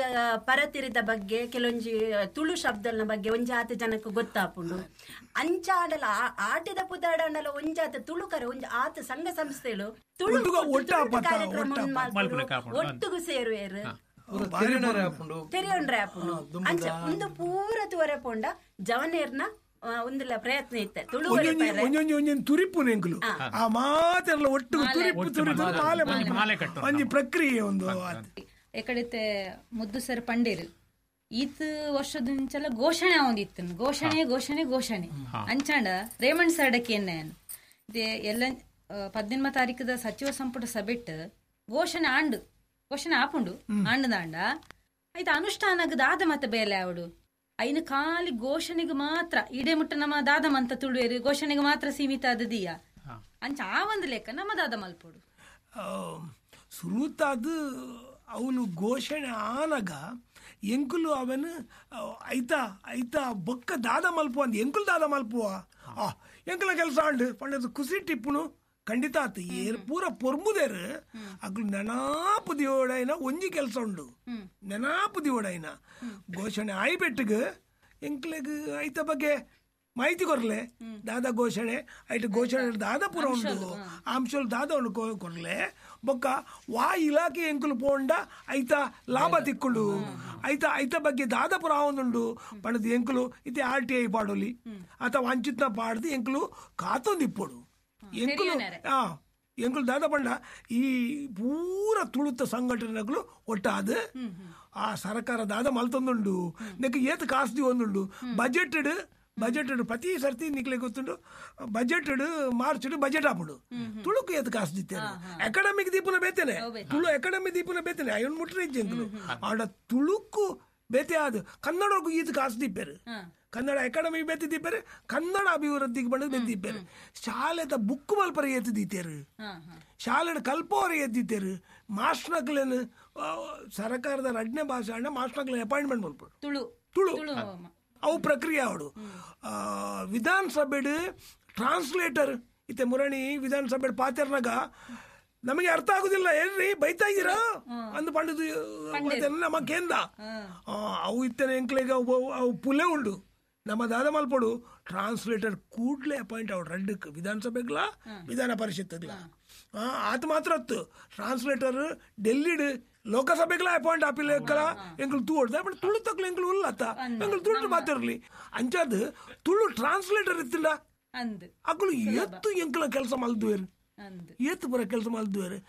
ಪರತಿರಿದ ಬಗ್ಗೆ ಕೆಲವೊಂಜಿ ತುಳು ಶಬ್ದನ ಬಗ್ಗೆ ಒಂಜಾತ ಜನಕ್ಕೆ ಗೊತ್ತಾಪುಂಡು ಅಂಚಾಡಲ ಆಟಿದ ಪುದಾಡಂಡಲ ಒಂಜಾತ ತುಳುಕರ ಒಂಜಿ ಆತ ಸಂಘ ಸಂಸ್ಥೆಗಳು ತುಳು ಕಾರ್ಯಕ್ರಮ ಒಟ್ಟುಗು ಸೇರುವೇರು ತೆರೆಯೊಂಡ್ರೆ ಆಪುಂಡು ಅಂಚ ಒಂದು ಪೂರ ತುವರೆ ಪೋಂಡ ಜವನೇರ್ನ ಒಂದುಲ ಪ್ರಯತ್ನ ಇತ್ತೆ ತುಳು ಒಂಜೊಂಜಿ ಒಂಜೊಂಜಿ ತುರಿಪು ನೆಂಕುಲು ಆ ಮಾತೆಲ್ಲ ಒಟ್ಟು ತುರಿಪು ತುರಿಪು ಮಾಲೆ ಒಂಜಿ ಪ್ರಕ್ರಿಯೆ ಒಂದು ಎಕಡೆತೆ ಮುದ್ದು ಸರ್ ಪಂಡೇರು ಈತ್ ವರ್ಷದಿಂಚಲ ಘೋಷಣೆ ಒಂದಿತ್ತು ಘೋಷಣೆ ಘೋಷಣೆ ಘೋಷಣೆ ಅಂಚಾಂಡ ರೇಮಣ್ಣ ಸರ್ಡಕ್ಕೆ ಎನ್ನ ಎಲ್ಲ 18 ತಾರೀಕದ ಸಚಿವ ಸಂಪುಟ ಸಭೆಟ್ ಘೋಷಣೆ ಆಂಡು ಘೋಷಣೆ ಆಪುಂಡು ಆಂಡದಾಂಡ ಆಯ್ತು ಅನುಷ್ಠಾನಗ ದಾದ ಮತ್ತೆ ಬೇಲೆ ಅವಡು ಐನು ಖಾಲಿ ಘೋಷಣೆಗೆ ಮಾತ್ರ ಇಡೇ ಮುಟ್ಟ ನಮ್ಮ ದಾದ ಮಂತ ತುಳುವೇರು ಘೋಷಣೆಗೆ ಮಾತ್ರ ಸೀಮಿತ ಆದದೀಯ ಅಂಚ ಆ ಒಂದು ಲೆಕ್ಕ ನಮ್ಮ ದಾದ ಮಲ್ಪೋಡು ಸುರುತಾದ ಅವನು ಘೋಷಣೆ ಆನಗ ಎಂಕುಲು ಅವನು ಐತಾ ಐತಾ ಬೊಕ್ಕ ದಾದ ಮಲ್ಪುವ ಅಂದ್ ಎಂಕುಲು ದಾದ ಮಲ್ಪುವ ಆ ಎಂಕುಲ ಕೆಲಸ ಆಂಡು ಪಂಡದು ಕುಸಿ ಟಿಪ್ಪುನು ಖಂಡಿತ ಆತು ಏರ್ ಪೂರ ಪೊರ್ಮುದೇರು ಅಗ್ಲು ನೆನಾಪು ದಿಯೋಡೈನ ಒಂಜಿ ಕೆಲಸ ಉಂಡು ನೆನಾಪು ದಿಯೋಡೈನ ಘೋಷಣೆ ಆಯ್ಬೆಟ್ಟಿಗೆ ಎಂಕ್ಲೆಗ್ ಐತ ಬಗ್ಗೆ ಮಾಹಿತಿ ಕೊರ್ಲೆ ದಾದ ಘೋಷಣೆ ಐಟ್ ಘೋಷಣೆ ದಾದ ಪೂರ ಉಂಡು ಅಂಶಲ್ ದಾದ ಉಂಡು ಕೊರ್ಲೆ ಬೊಕ್ಕ ವಾ ಇಲಾಖೆ ಎಂಕುಲು ಪೋಂಡ ಐತ ಲಾಭ ತಿಕ್ಕುಂಡು ಐತ ಐತ ಬಗ್ಗೆ ದಾದ ಪುರ ಆವೊಂದುಂಡು ಪಂಡದು ಎಂಕುಲು ಇತ್ತೆ ಆರ್ ಟಿ I ಪಾಡೋಲಿ ಅಥವಾ ವಂಚಿತ್ನ ಪಾಡ್ದು ಎಂಕುಲು ಕಾತೊಂದಿಪ್ಪೊಡು ಎಂಕುಲು ಎಂಕುಲು ದಾದ ಪಂಡ ಈ ಪೂರ ತುಳುತ್ತ ಸಂಘಟನೆಗಳು ಒಟ್ಟಾದ ಆ ಸರ್ಕಾರ ದಾದ ಮಲ್ತೊಂದುಂಡು ನೆಕ್ ಏತ್ ಕಾಸು ಒಂದುಂಡು ಬಜೆಟೆಡ್ ಬಜೆಟೆಡ್ ಪ್ರತಿ ಸರ್ತಿ ನಿಕ್ಲೆ ಗೊತ್ತುಂಡು ಬಜೆಟೆಡ್ ಮಾರ್ಚ್ ಬಜೆಟ್ ಆಪುಂಡು ತುಳುಕು ಏತ್ ಕಾಸು ದಿತ್ತೇನೆ ಅಕಾಡೆಮಿಕ್ ದೀಪನ ಬೇತೇನೆ ತುಳು ಅಕಾಡೆಮಿ ದೀಪನ ಬೇತೇನೆ ಅಯ್ಯನ್ ಮುಟ್ರೆ ಇಜ್ಜೆಂಕುಲು ಆಂಡ ತುಳುಕು ಬೇತೆ ಆದ ಕನ್ನಡಕ್ಕೂ ಈತ್ ಕಾಸು ದೀಪೇರು ಕನ್ನಡ ಅಕಾಡೆಮಿ ಬೇತಿ ದೀಪೇರು ಕನ್ನಡ ಅಭಿವೃದ್ಧಿಗೆ ಬಂದು ಬೇತಿ ದೀಪೇರು ಶಾಲೆದ ಬುಕ್ ಮಲ್ಪರ ಏತು ದೀತೇರು ಶಾಲೆಡ್ ಕಲ್ಪೋರ ಎದ್ದಿತ್ತೇರು ಮಾಸ್ಟ್ನಕ್ಲೇನು ಸರ್ಕಾರದ ರಡ್ನೇ ಭಾಷೆ ಅಣ್ಣ ಮಾಸ್ಟ್ನಕ್ಲೇನು ಅಪಾಯಿಂಟ್ಮೆಂಟ್ ಮಲ್ಪಡು ತುಳು ತುಳು ಅವು ಪ್ರಕ್ರಿಯೆ ಅವಡು ವಿಧಾನಸಭೆಡ್ ಟ್ರಾನ್ಸ್ಲೇಟರ್ ಇತ್ತೆ ಮುರಣಿ ವಿಧಾನಸಭೆ ಪಾತೆರ್ನಾಗ ನಮಗೆ ಅರ್ಥ ಆಗುದಿಲ್ಲ ಏನ್ರಿ ಬೈತಾ ಇದ್ದೀರಾ ಅಂದ್ ಪಂಡದು ನಮ್ಮ ಕೇಂದ್ರ ಅವು ಇತ್ತನೆ ಎಂಕ್ಲೆಗ್ ಅವು ಪುಲೆ ಉಂಡು ನಮ್ಮ ದಾದ ಮಲ್ಪಡು ಟ್ರಾನ್ಸ್ಲೇಟರ್ ಕೂಡ್ಲೆ ಅಪಾಯಿಂಟ್ ಅವಡು ರಡ್ಡಕ್ಕೆ ವಿಧಾನಸಭೆಗ್ಲ ವಿಧಾನ ಪರಿಷತ್ಗ್ಲ ಆತ ಮಾತ್ರ ಅತ್ತು ಟ್ರಾನ್ಸ್ಲೇಟರ್ ಡೆಲ್ಲಿಡ್ ಲೋಕಸಭೆಗ್ಲ ಅಪಾಯಿಂಟ್ ಆಪಿಲ್ಲ ಎಂಕುಲು ತೂ ಹೊಡ್ದ ಬಟ್ ತುಳು ತಕ್ಲು ಎಂಕುಲು ಉಲ್ಲತ್ತ ಎಂಕುಲು ತುಳು ಮಾತಿರ್ಲಿ ಅಂಚಾದ್ ತುಳು ಟ್ರಾನ್ಸ್ಲೇಟರ್ ಇತ್ತಿಲ್ಲ ಅಕ್ಕಲು ಎತ್ತು ಎಂಕುಲ ಕೆಲಸ ಮಲ್ದುವೇರು ಏತು ಪೂರ ಕೆಲಸ ಮಲ್ದುವೇರು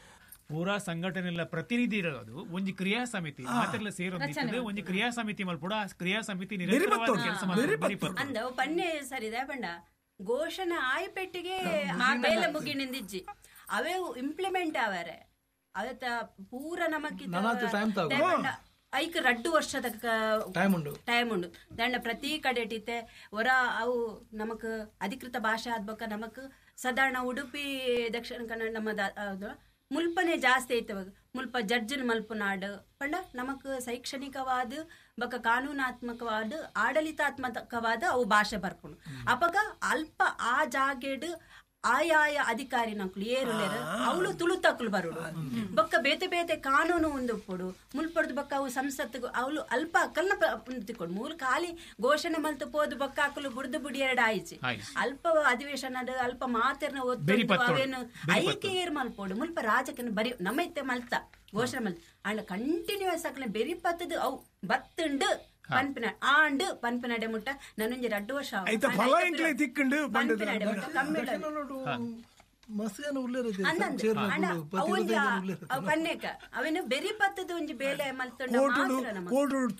ಪೂರಾ ಸಂಘಟನೆಲ್ಲ ಪ್ರತಿನಿಧಿ ಇರೋದು ಒಂಜಿ ಕ್ರಿಯಾ ಸಮಿತಿ ಮಾತೆಲ್ಲ ಸೇರೊಂದು ಒಂಜಿ ಕ್ರಿಯಾ ಸಮಿತಿ ಮಲ್ಪುಡ ಆ ಕ್ರಿಯಾ ಸಮಿತಿ ನಿರಂತರವಾದ ಕೆಲಸ ಮಾಡ್ತಾರೆ. ಅಂದ ಪನ್ನೆ ಸರಿದ ಪಂಡ ಘೋಷಣೆ ಆಯ್ಪೆಟ್ಟಿಗೆ ಬೇಲೆ ಮುಗಿನಿಂದಿಜ್ಜಿ ಅವೇ ಇಂಪ್ಲಿಮೆಂಟ್ ಆವರೆ ಅವತ್ತ ಪೂರ ನಮಕ್ ಐಕ್ 2 ವರ್ಷದ ಟೈಮ್ ಉಂಡು ದಂಡ ಪ್ರತಿ ಕಡೆ ಇಟ್ಟಿತ್ತೆ ಹೊರ ಅವು ನಮಕ್ ಅಧಿಕೃತ ಭಾಷೆ ಆದ್ಬಕ್ಕ ನಮಕ್ ಸಾಧಾರಣ ಉಡುಪಿ ದಕ್ಷಿಣ ಕನ್ನಡ ನಮ್ಮ ಮುಲ್ಪನೆ ಜಾಸ್ತಿ ಐತೆ ಮುಲ್ಪ ಜಡ್ಜನ್ ಮಲ್ಪುನಾಡು ಪಂಡ ನಮಕ್ ಶೈಕ್ಷಣಿಕವಾದ ಬಕ ಕಾನೂನಾತ್ಮಕವಾದ ಆಡಳಿತಾತ್ಮಕವಾದ ಅವು ಭಾಷೆ ಬರ್ಪುಂಡು ಅಪಗ ಅಲ್ಪ ಆ ಜಾಗೆಡ್ ಆಯಾಯ ಅಧಿಕಾರಿ ನಕ್ಲು ಏರುಲೇರು ಅವಳು ತುಳುತಕ್ಲು ಬರೋಡು ಬೊಕ್ಕ ಬೇತೆ ಬೇತೆ ಕಾನೂನು ಒಂದು ಉಪ್ಪುಡು ಮುಲ್ಪಡ್ದು ಬೊಕ್ಕ ಅವು ಸಂಸತ್ತಿಗೆ ಅವಳು ಅಲ್ಪ ಅಕ್ಕಲ್ನ ತಿಕ್ಕೊಡು ಮೂಲ ಖಾಲಿ ಘೋಷಣೆ ಮಲ್ತು ಪೋದು ಬೊಕ್ಕ ಅಕ್ಕಲು ಬುಡ್ದು ಬುಡಿ ಎರಡು ಆಯ್ಚಿ ಅಲ್ಪ ಅಧಿವೇಶನ ಅಲ್ಪ ಮಾತೆರ್ನ ಒತ್ತು ಅವೇನು ಐಕೆ ಏರ್ ಮಲ್ಪೋಡು ಮುಲ್ಪ ರಾಜಕನ ಬರಿ ನಮ್ಮ ಇತ್ತೆ ಮಲ್ತ ಘೋಷಣೆ ಮಲ್ತ ಅಂಡ ಕಂಟಿನ್ಯೂಸ್ ಅಕ್ಕಲ ಬೆರಿ ಪತ್ತದು ಅವು ಬತ್ತುಂಡು ಪನ್ಪಿನ ಆಂಡು ಪನ್ಪಿನಡೆ ಮುಟ್ಟ ನನ್ನೊಂಜಿ ರಡ್ಡು ವರ್ಷ ಪನ್ನೇಕ ಅವೇನು ಬೆರಿ ಪತ್ತದ ಒಂಜಿ ಬೇಲೆ ಮಲ್ತುಂಡ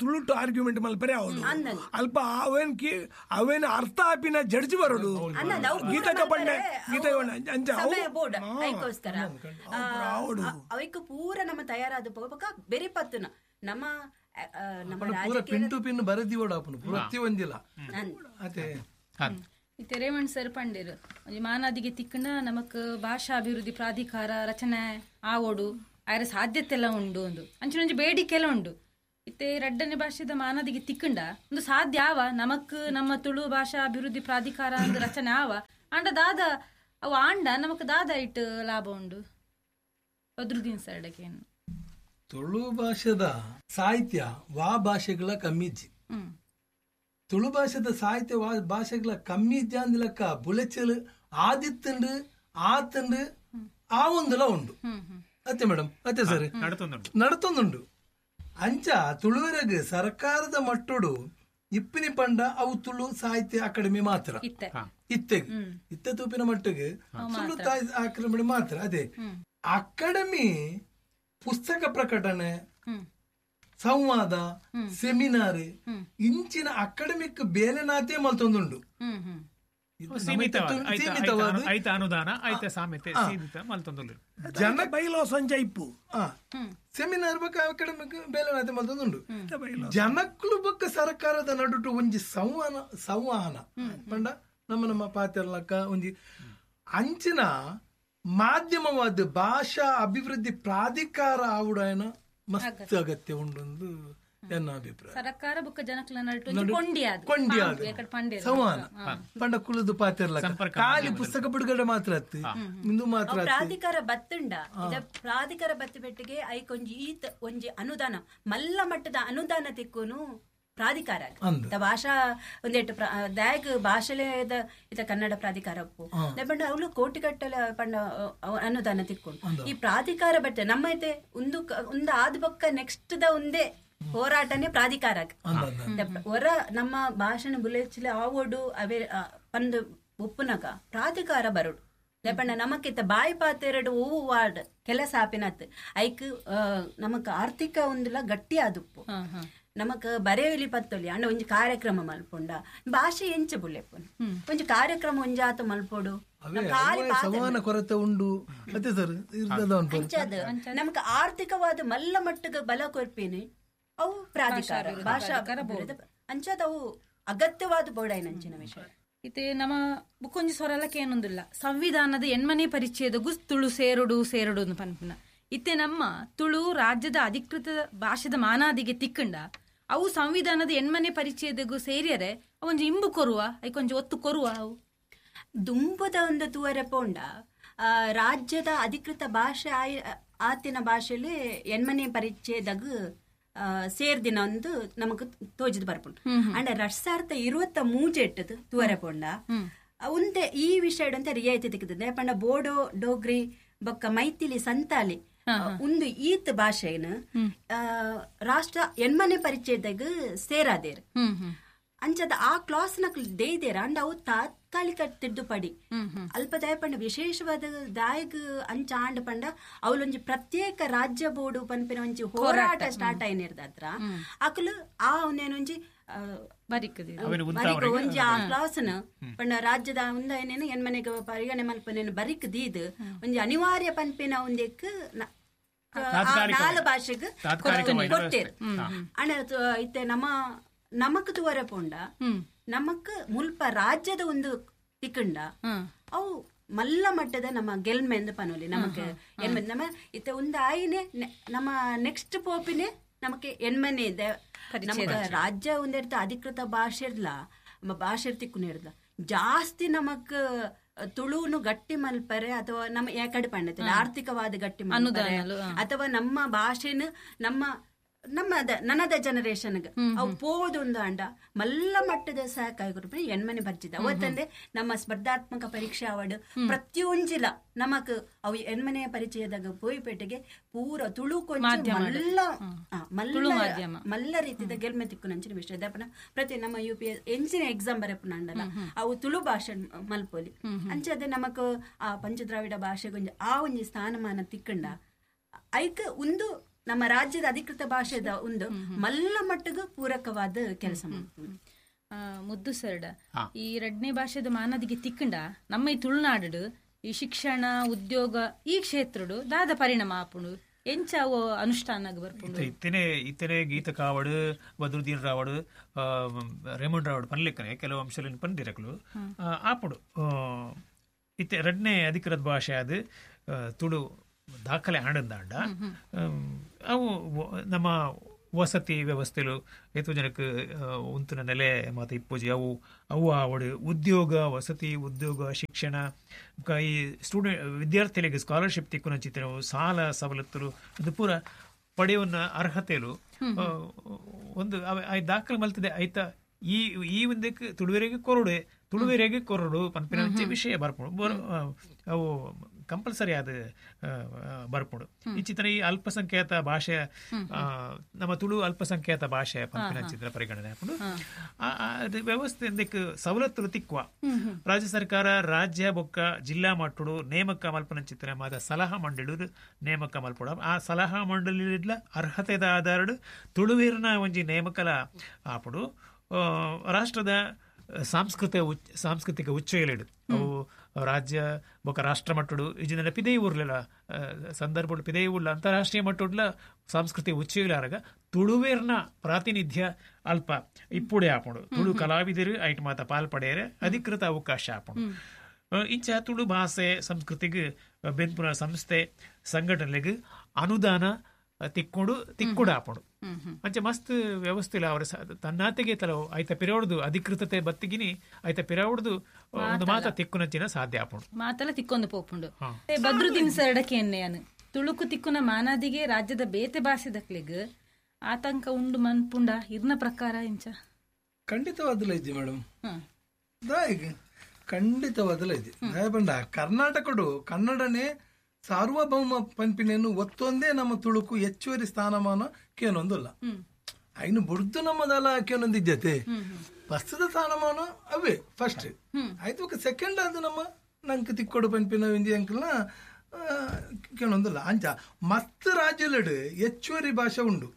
ತುಳುಟು ಆರ್ಗ್ಯುಮೆಂಟ್ ಮಲ್ಪರೆ ಅವಳು ಅಲ್ಪ ಅವೇನ್ ಅವೇನ ಅರ್ಥ ಆಪಿನ ಜಡ್ಜ್ ಬರೋಡು ಗೀತಕ ಪಂಡೆ ಗೀತ ಬೋರ್ಡ್ ಐಕೋಸ್ಕರ ಅವಕ್ಕೆ ಪೂರ ನಮ್ಮ ತಯಾರಾದ ಪೋಪಕ ಬೆರಿ ಪತ್ತುನ ನಮ್ಮ ಪಿನ್ ಟು ಪಿನ್ ಬರೆದಿವಡ ಪ್ರತಿ ಒಂದಿಲ್ಲ ಅದೇ ರೇವಣ್ ಸರ್ ಪಂಡೇರು ಒಂಜಿ ಮಾನಾದಿಗೆ ತಿಕ್ಕಣ ನಮಕ್ ಭಾಷಾ ಅಭಿವೃದ್ಧಿ ಪ್ರಾಧಿಕಾರ ರಚನೆ ಆವೋಡು ಆಯ್ರ ಸಾಧ್ಯತೆ ಎಲ್ಲ ಉಂಡು ಒಂದು ಅಂಚಿನ ಒಂಜಿ ಬೇಡಿಕೆ ಎಲ್ಲ ಉಂಡು. ಇತ್ತೆ ರಡ್ಡನೆ ಭಾಷೆದ ಮಾನಾದಿಗೆ ತಿಕ್ಕಂಡ ಒಂದು ಸಾಧ್ಯ ಆವ ನಮಕ್ ನಮ್ಮ ತುಳು ಭಾಷಾ ಅಭಿವೃದ್ಧಿ ಪ್ರಾಧಿಕಾರ ಒಂದು ರಚನೆ ಆವ ಆಂಡ ದಾದ ಅವು ಆಂಡ ನಮಕ್ ದಾದ ಇಟ್ಟು ಲಾಭ ಉಂಡು ಬದ್ರುದ್ದೀನ್ ಸರ್ ಅಡಕೇನು. ತುಳು ಭಾಷೆದ ಸಾಹಿತ್ಯ ವಾ ಭಾಷೆಗಳ ಕಮ್ಮಿಜ್ಜಿ. ತುಳು ಭಾಷೆದ ಸಾಹಿತ್ಯ ವಾ ಭಾಷೆಗಳ ಕಮ್ಮಿಜ್ಜ ಅಂದಿಲಕ್ಕ ಬುಲೆಚಲು ಆದಿತ್ತಂಡು ಆತಂಡು ಆ ಒಂದುಲ ಉಂಡು ಅತ್ತೆ ಮೇಡಮ್ ಅತ್ತೆ ಸರ್ ನಡತೊಂದುಂಡು. ಅಂಚ ತುಳುವರೆಗೆ ಸರ್ಕಾರದ ಮಟ್ಟೋಡು ಇಪ್ಪಿನಿ ಪಂಡ ಅವು ತುಳು ಸಾಹಿತ್ಯ ಅಕಾಡೆಮಿ ಮಾತ್ರ ಇತ್ತೆಗ್ ಇತ್ತೆ ತೂಪಿನ ಮಟ್ಟಿಗೆ ತುಳು ಅಕಾಡೆಮಿ ಮಾತ್ರ. ಅದೇ ಅಕಾಡೆಮಿ ಪುಸ್ತಕ ಪ್ರಕಟಣೆ, ಸಂವಾದ, ಸೆಮಿನಾರ್ ಇಂಚಿನ ಅಕಾಡೆಮಿಕ್ ಬೇಲೆನಾತೆ ಮಲ್ತೊಂದುಂಡು. ಜನ ಬೈಲೋ ಸಂಜೆ ಇಪ್ಪು ಸೆಮಿನಾರ್ ಬಕ್ಕ ಅಕಾಡೆಮಿಕ್ ಬೇಲೆನಾತೆ ಮಲ್ತೊಂದುಂಡು. ಜನಕ್ಕಳು ಬಕ್ಕ ಸರ್ಕಾರದ ನಡುಟು ಒಂಜಿ ಸಂವಹನ ಪಂಡ ನಮ್ಮ ನಮ್ಮ ಪಾತ್ರಲಕ್ಕ ಒಂಜಿ ಅಂಚಿನ ಮಾಧ್ಯಮವಾದ ಭಾಷಾ ಅಭಿವೃದ್ಧಿ ಪ್ರಾಧಿಕಾರ ಆವುಡಾಯನ ಮಸ್ತ್ ಅಗತ್ಯ ಉಂಡೊಂದು ಎನ್ನ ಅಭಿಪ್ರಾಯ. ಸರ್ಕಾರ ಬೊಕ್ಕ ಜನಕ್ಲ ಕೊಂಡಿ ಸಂವಹನ ಪಂಡ ಕುಲದ ಪಾತ್ರ ಖಾಲಿ ಪುಸ್ತಕ ಬಿಡುಗಡೆ ಮಾತ್ರ ಅತ್ತು ಇಂದು ಮಾತ್ರ ಪ್ರಾಧಿಕಾರ ಬತ್ತುಂಡ ಪ್ರಾಧಿಕಾರ ಬತ್ತು ಬೆಟ್ಟಿಗೆ ಐಕೊಂಜಿ ಈತ ಒಂಜಿ ಅನುದಾನ ಮಲ್ಲ ಮಟ್ಟದ ಅನುದಾನ ತಿಕ್ಕುನು ಪ್ರಾಧಿಕಾರ ಭಾಷಾ ಒಂದೆಟ್ಟು ದಾಯಕ್ ಭಾಷೆಲೇದ ಇತ ಕನ್ನಡ ಪ್ರಾಧಿಕಾರ ಪಂಡ ಅವಳು ಕೋಟಿಗಟ್ಟಲೆ ಪಂಡ ಅನುದಾನ ತಿಕ್ಕೊಂಡು ಈ ಪ್ರಾಧಿಕಾರ ಬಟ್ಟೆ ನಮ್ಮ ಐತೆ ಒಂದು ಒಂದು ಆದ ಬೊಕ್ಕ ನೆಕ್ಸ್ಟ್ the ಒಂದೇ ಹೋರಾಟನೇ ಪ್ರಾಧಿಕಾರ ಹೊರ ನಮ್ಮ ಭಾಷಣ ಬುಲೆಚಿಲೆ ಆವೋಡು ಅವೇ ಪಂದು ಒಪ್ಪುನಕ ಪ್ರಾಧಿಕಾರ ಬರೋಡು ಪಂಡ ನಮಕ್ಕಿತ್ತ ಬಾಯಿ ಪಾತೆರಡು ಹೂವು ವಾರ್ಡ್ ಕೆಲಸ ಆಪಿನತ್ ಐಕ್ ನಮಕ್ ಆರ್ಥಿಕ ಒಂದುಲ ಗಟ್ಟಿ ಆದುಪ್ಪು ನಮಕ್ ಬರೆಯಲಿ ಪತ್ತೊಲಿ ಅಂಡ ಒಂಜಿ ಕಾರ್ಯಕ್ರಮ ಮಲ್ಪೊಂಡ ಭಾಷೆ ಎಂಚ ಬುಲೆಪ್ಪು ಒಂಜಿ ಕಾರ್ಯಕ್ರಮ ಒಂಜಾತ ಮಲ್ಪೊಡು ಸಂವಹನ ಕೊರತೆ ಉಂಡು ನಮಕ್ ಆರ್ಥಿಕವಾದ ಮಲ್ಲ ಮಟ್ಟದ ಬಲ ಕೊರ್ಪಿನಿ ಅವು ಪ್ರಾಧಿಕಾರ ಭಾಷಾ ಅಂಚಾದ ಅವು ಅಗತ್ಯವಾದ ಬೋಡಾಯಿನಂಚಿನ ವಿಷಯ. ಇತ್ತೆ ನಮ್ಮ ಬುಕ್ಕೊಂಜಿ ಸ್ವರಲಕ್ಕೆ ಏನೊಂದಿಲ್ಲ ಸಂವಿಧಾನದ ಎಣ್ಮನೆ ಪರಿಚ್ಛೇದಗೂ ತುಳು ಸೇರುಡು ಸೇರುಡು ಪನ್ಪಿನ ಇತ್ತೆ ನಮ್ಮ ತುಳು ರಾಜ್ಯದ ಅಧಿಕೃತ ಭಾಷೆದ ಮಾನಾದಿಗೆ ತಿಕ್ಕಂಡ ಅವು ಸಂವಿಧಾನದ ಎಣ್ಮನೆ ಪರಿಚ್ಛೇದಗೂ ಸೇರಿಯರೆ ಒಂಜಿ ಇಂಬು ಕೊರುವ ಐಕೊಂಜಿ ಒತ್ತು ಕೊರುವ ಅವು ದುಂಬುದ ಒಂದು ತೂವರೆ ಪೋಂಡ ರಾಜ್ಯದ ಅಧಿಕೃತ ಭಾಷೆ ಆತಿನ ಭಾಷೆಯಲ್ಲಿ ಎಣ್ಮನೆ ಪರಿಚ್ಛೇದಗ್ ಸೇರ್ದಿನ ಒಂದು ನಮಗ್ ತೋಜಿದ್ ಬರ್ಪುಂಡು. ಅಂಡ 2023 ಎಟ್ಟದು ತೂವರೆ ಪೋಂಡ ಉಂತೆ ಈ ವಿಷಯ ಅಂತ ರಿಯಾಯಿತಿ ತಿಕ್ಕದ ಪಂಡ ಬೋಡೋ ಡೋಗ್ರಿ ಬೊಕ್ಕ ಮೈಥಿಲಿ ಸಂತಾಲಿ ಒಂದು ಈತ್ ಭಾಷೆನ ರಾಷ್ಟ್ರ ಎಣ್ಮನೆ ಪರಿಚಯದಾಗ ಸೇರಾದೇರ್ ಅಂಚದ ಆ ಕ್ಲಾಸ್ ನಕ್ಲು ದೇದೇರ ಅಂಡ ಅವು ತಾತ್ಕಾಲಿಕ ತಿದ್ದುಪಡಿ ಅಲ್ಪ ದಯಪಂಡ ವಿಶೇಷವಾದ ದಾಯಗ್ ಅಂಚ ಆಂಡ ಪಂಡ ಅವಳೊಂಜಿ ಪ್ರತ್ಯೇಕ ರಾಜ್ಯ ಬೋರ್ಡು ಪನ್ಪಿನ ಒಂಜಿ ಹೋರಾಟ ಸ್ಟಾರ್ಟ್ ಆಯ್ನಿರ್ದ ಅಕಲು ಆ ಒಂದೇನೊಂಜಿ ಒಂಜಿ ಆ ಕ್ಲಾಸ್ನ ಪಂಡ ರಾಜ್ಯದ ಒಂದೇನೇನು ಎನ್ಮನೆಗೆ ಪರಿಗಣನೆ ಮಲ್ಪನೇನು ಬರಿಕ್ ದೀದ್ ಒಂಜಿ ಅನಿವಾರ್ಯ ಪನ್ಪಿನ ಒಂದೆಕ್ ನಾಲ್ ಭಾಷೆಗ್ ಕೊಟ್ಟೇರು. ಅಣ್ಣ ಇತ್ತೆ ನಮ್ಮ ನಮಕ್ ತೂವರೆ ಪೋಂಡ ನಮಕ್ ಮುಲ್ಪ ರಾಜ್ಯದ ಒಂದು ತಿಕ್ಕಂಡ ಅವು ಮಲ್ಲ ಮಟ್ಟದ ನಮ್ಮ ಗೆಲ್ಮೆ ಎಂದು ಪನೋಲಿ ನಮಕ್ ಎನ್ಮೆ ನಮ್ಮ ಇತ್ತೆ ಒಂದು ಆಯಿನೆ ನಮ್ಮ ನೆಕ್ಸ್ಟ್ ಪೋಪಿನೆ ನಮಕ್ ಎನ್ಮನೆ ಇದೆ. ನಮಕ್ ರಾಜ್ಯ ಒಂದಿರ್ತ ಅಧಿಕೃತ ಭಾಷೆ ಇರ್ಲ ನಮ್ಮ ಭಾಷೆ ತಿಕ್ಕುನ ಇರ್ಲ ಜಾಸ್ತಿ ನಮಕ್ ತುಳುನು ಗಟ್ಟಿ ಮಲ್ಪರೆ ಅಥವಾ ನಮ್ಮ ಯಾಕಡೆ ಪಂಡತಿಲ್ಲ ಆರ್ಥಿಕವಾದ ಗಟ್ಟಿ ಮಲ್ಪರೆ ಅಥವಾ ನಮ್ಮ ಭಾಷೆನ ನಮ್ಮ ನಮ್ಮ ನನದ ಜನರೇಷನ್ ಅವು ಪೋದೊಂದು ಅಂಡ ಮಲ್ಲ ಮಟ್ಟದ ಸಹಕಾರಿ ಎಣ್ಮನೆ ಬರ್ಜಿದ ಅವತ್ತಂದೆ ನಮ್ಮ ಸ್ಪರ್ಧಾತ್ಮಕ ಪರೀಕ್ಷೆ ಅವಾರ್ಡ್ ಪ್ರತಿಯೊಂಜಿಲ ನಮಕ್ ಅವು ಎಣ್ಮನೆಯ ಪರಿಚಯದಾಗ ಪೋಯಿಪೇಟೆಗೆ ಪೂರ ತುಳು ಕೊಂಚ ಮಲ್ಲ ಮಲ್ಲ ಮಲ್ಲ ರೀತಿದ ಗೆಲ್ಮೆ ತಿಕ್ಕು ನಂಚಿನ ವಿಷಯ ದಪನ ಪ್ರತಿ ನಮ್ಮ ಯು ಪಿ ಎಸ್ ಎಂಚಿನ ಎಕ್ಸಾಮ್ ಬರಪುನ ಅಂಡಲ್ಲ ಅವು ತುಳು ಭಾಷೆ ಮಲ್ಪೋಲಿ ಅಂಚೆ ನಮಕ್ ಆ ಪಂಚದ್ರಾವಿಡ ಭಾಷೆಗೊಂಜಿ ಆ ಒಂಜಿ ಸ್ಥಾನಮಾನ ತಿಕ್ಕಂಡ ಐಕ್ ಒಂದು ನಮ್ಮ ರಾಜ್ಯದ ಅಧಿಕೃತ ಭಾಷೆದ ಒಂದು ಮಲ್ಲ ಮಟ್ಟಗೂ ಪೂರಕವಾದ ಕೆಲಸ ಮಾಡ್ತೀವಿ. ಮುದ್ದು ಸರ್ಡ, ಈ ಎರಡನೇ ಭಾಷೆದ ಮಾನದಿಗೆ ತಿಕ್ಕಂಡ ನಮ್ಮ ಈ ತುಳುನಾಡು ಈ ಶಿಕ್ಷಣ ಉದ್ಯೋಗ ಈ ಕ್ಷೇತ್ರಡು ದಾದ ಪರಿಣಾಮ ಆಪುಂಡು ಎಂಚ ಅವು ಅನುಷ್ಠಾನ ಬರ್ಪುಂಡು. ಇತ್ತನೆ ಇತ್ತನೆ ಗೀತ ಕಾವಡು ಬದ್ರುದ್ದೀನ್ ರಾವಡು ರೇಮಂಡ್ ರಾವಡು ಪನ್ಲಿಕ್ಕನೆ ಕೆಲವು ಅಂಶಗಳನ್ನು ಪಂದಿರಕಲು ಆಪುಡು. ಇತ್ತೆ ಎರಡನೇ ಅಧಿಕೃತ ಭಾಷೆ ಅದು ತುಳು ದಾಖಲೆ ಆಡಂದಾಂಡ ಅವು ನಮ್ಮ ವಸತಿ ವ್ಯವಸ್ಥೆಲು ಏತೋ ಜನಕ್ಕೆ ಉಂತಿನ ನೆಲೆ ಮತ್ತು ಇಪ್ಪೋಜಿ ಅವು ಅವು ಆವಡು ಉದ್ಯೋಗ ವಸತಿ ಉದ್ಯೋಗ ಶಿಕ್ಷಣ ಈ ಸ್ಟೂಡೆಂಟ್ ವಿದ್ಯಾರ್ಥಿಗಳಿಗೆ ಸ್ಕಾಲರ್ಶಿಪ್ ತಿಕ್ಕುನಂಚಿತನವು ಸಾಲ ಸವಲತ್ತುಲು ಅದು ಪೂರ ಪಡೆಯುವನ್ನ ಅರ್ಹತೆಲು ಒಂದು ದಾಖಲೆ ಮಲ್ತದೆ ಆಯ್ತಾ. ಈ ಈ ಒಂದಕ್ಕೆ ತುಳುವೆರೆಗೆ ಕೊರಡು ತುಳುವೆರೆಗೆ ಕೊರಡು ಪನ್ಪಿನ ವಿಷಯ ಬರ್ಪುಂಡು ಅವು ಕಂಪಲ್ಸರಿ ಆದ ಬರ್ಪುಂಡು. ಇಂಚಿತನ ಈ ಅಲ್ಪಸಂಖ್ಯಾತ ಭಾಷೆ ನಮ್ಮ ತುಳು ಅಲ್ಪಸಂಖ್ಯಾತ ಭಾಷೆ ಪನ್ಪಿನ ಚಿತ್ರ ಪರಿಗಣನೆ ಹಾಕೊಂಡು ವ್ಯವಸ್ಥೆ ಎಂದಕ್ಕೆ ಸವಲತ್ತುಲು ತಿಕ್ಕುವ ರಾಜ್ಯ ಸರ್ಕಾರ ರಾಜ್ಯ ಬೊಕ್ಕ ಜಿಲ್ಲಾ ಮಟ್ಟಡು ನೇಮಕ ಮಲ್ಪನ ಚಿತ್ರ ಮಾತ ಸಲಹಾ ಮಂಡಳಿ ನೇಮಕ ಮಲ್ಪಡ ಆ ಸಲಹಾ ಮಂಡಳಿ ಅರ್ಹತೆದ ಆಧಾರಡು ತುಳುವೇರಿನ ಒಂಜಿ ನೇಮಕಲ ಆಪುಡು. ರಾಷ್ಟ್ರದ ಸಾಂಸ್ಕೃತಿಕ ಉಚ್ಚೆಗಳಿಡು ಅವು ರಾಜ್ಯ ಬೊಕ ರಾಷ್ಟ್ರ ಮಟ್ಟಡು ಇಜಿನ ಪಿದೈ ಊರ್ಲೆಲ್ಲ ಸಂದರ್ಭ ಪಿದೈ ಊರ್ಲ ಅಂತಾರಾಷ್ಟ್ರೀಯ ಮಟ್ಟುಡ್ಲ ಸಾಂಸ್ಕೃತಿಕ ಉಚ್ಚೆಗಳಾರಗ ತುಳುವೇರ್ನ ಪ್ರಾತಿನಿಧ್ಯ ಅಲ್ಪ ಇಪ್ಪುಡೆ ಆಪುಂಡು. ತುಳು ಕಲಾವಿದರು ಐಟ್ ಮಾತ ಪಾಲ್ ಪಡೆಯರೆ ಅಧಿಕೃತ ಅವಕಾಶ ಆಪುಂಡು. ಇಂಚ ತುಳು ಭಾಷೆ ಸಂಸ್ಕೃತಿಗೆ ಬೆನ್ಪುನ ಸಂಸ್ಥೆ ಸಂಘಟನೆಗೆ ಅನುದಾನ ತಿಕ್ಕೊಂಡು ತಿಕ್ಕುಡ ಆಪುಂಡು. ಅಂಚೆ ಮಸ್ತ್ ವ್ಯವಸ್ಥೆ ಇಲ್ಲ ಅವರ ತನ್ನಾತೆಗೆ ತಲವು ಆಯ್ತ ಪಿರವಡ್ದು ಅಧಿಕೃತತೆ ಬತ್ತಿಗಿನಿ ಆಯ್ತ ಪಿರವಡ್ದು ಒಂದು ಮಾತ ತಿಕ್ಕುನಂಚಿನ ಸಾಧ್ಯ ಆಪುಂಡು. ಮಾತಲ್ಲ ತಿಕ್ಕೊಂದು ಪೋಪುಂಡು. ಬದ್ರುದ್ದೀನ್ ಸರಡಕ್ಕೆ ಎನ್ನೆಯಾನು ತುಳುಕು ತಿಕ್ಕುನ ಮಾನಾದಿಗೆ ರಾಜ್ಯದ ಬೇತೆ ಭಾಷೆ ದಕ್ಲೆಗ್ ಆತಂಕ ಉಂಡು ಮನ್ಪುಂಡ ಇರ್ನ ಪ್ರಕಾರ ಇಂಚ ಖಂಡಿತವಾದಲ ಇದ್ದಿ ಮೇಡಮ್, ಖಂಡಿತವಾದಲ ಇದ್ದಿ. ದಯಪಂಡ ಕರ್ನಾಟಕಡು ಕನ್ನಡನೇ ಸಾರ್ವಭೌಮ ಪಂಪಿನೇನು ಒತ್ತೊಂದೇ ನಮ್ಮ ತುಳುಕು ಹೆಚ್ಚುವರಿ ಸ್ಥಾನಮಾನ ಕೇನೊಂದಲ್ಲ. ಐನು ಬುಡ್ದು ನಮ್ಮದಲ್ಲ ಕೇನೊಂದಿದ್ಯತೆ ಪ್ರಸ್ತುತ ಸ್ಥಾನಮಾನ ಅವೇ ಫಸ್ಟ್ ಆಯ್ತು. ಸೆಕೆಂಡ್ ಅದು ನಮ್ಮ ನಂಗೆ ತಿಕ್ಕೊಡು ಪಂಪಿನ ಇಂದಿ ಅಂಕಲ್ನ ಕೇನೊಂದಲ್ಲ. ಅಂಚ ಮಸ್ತ್ ರಾಜ್ಯಲೆಡು ಹೆಚ್ಚುವರಿ ಭಾಷೆ ಉಂಡು.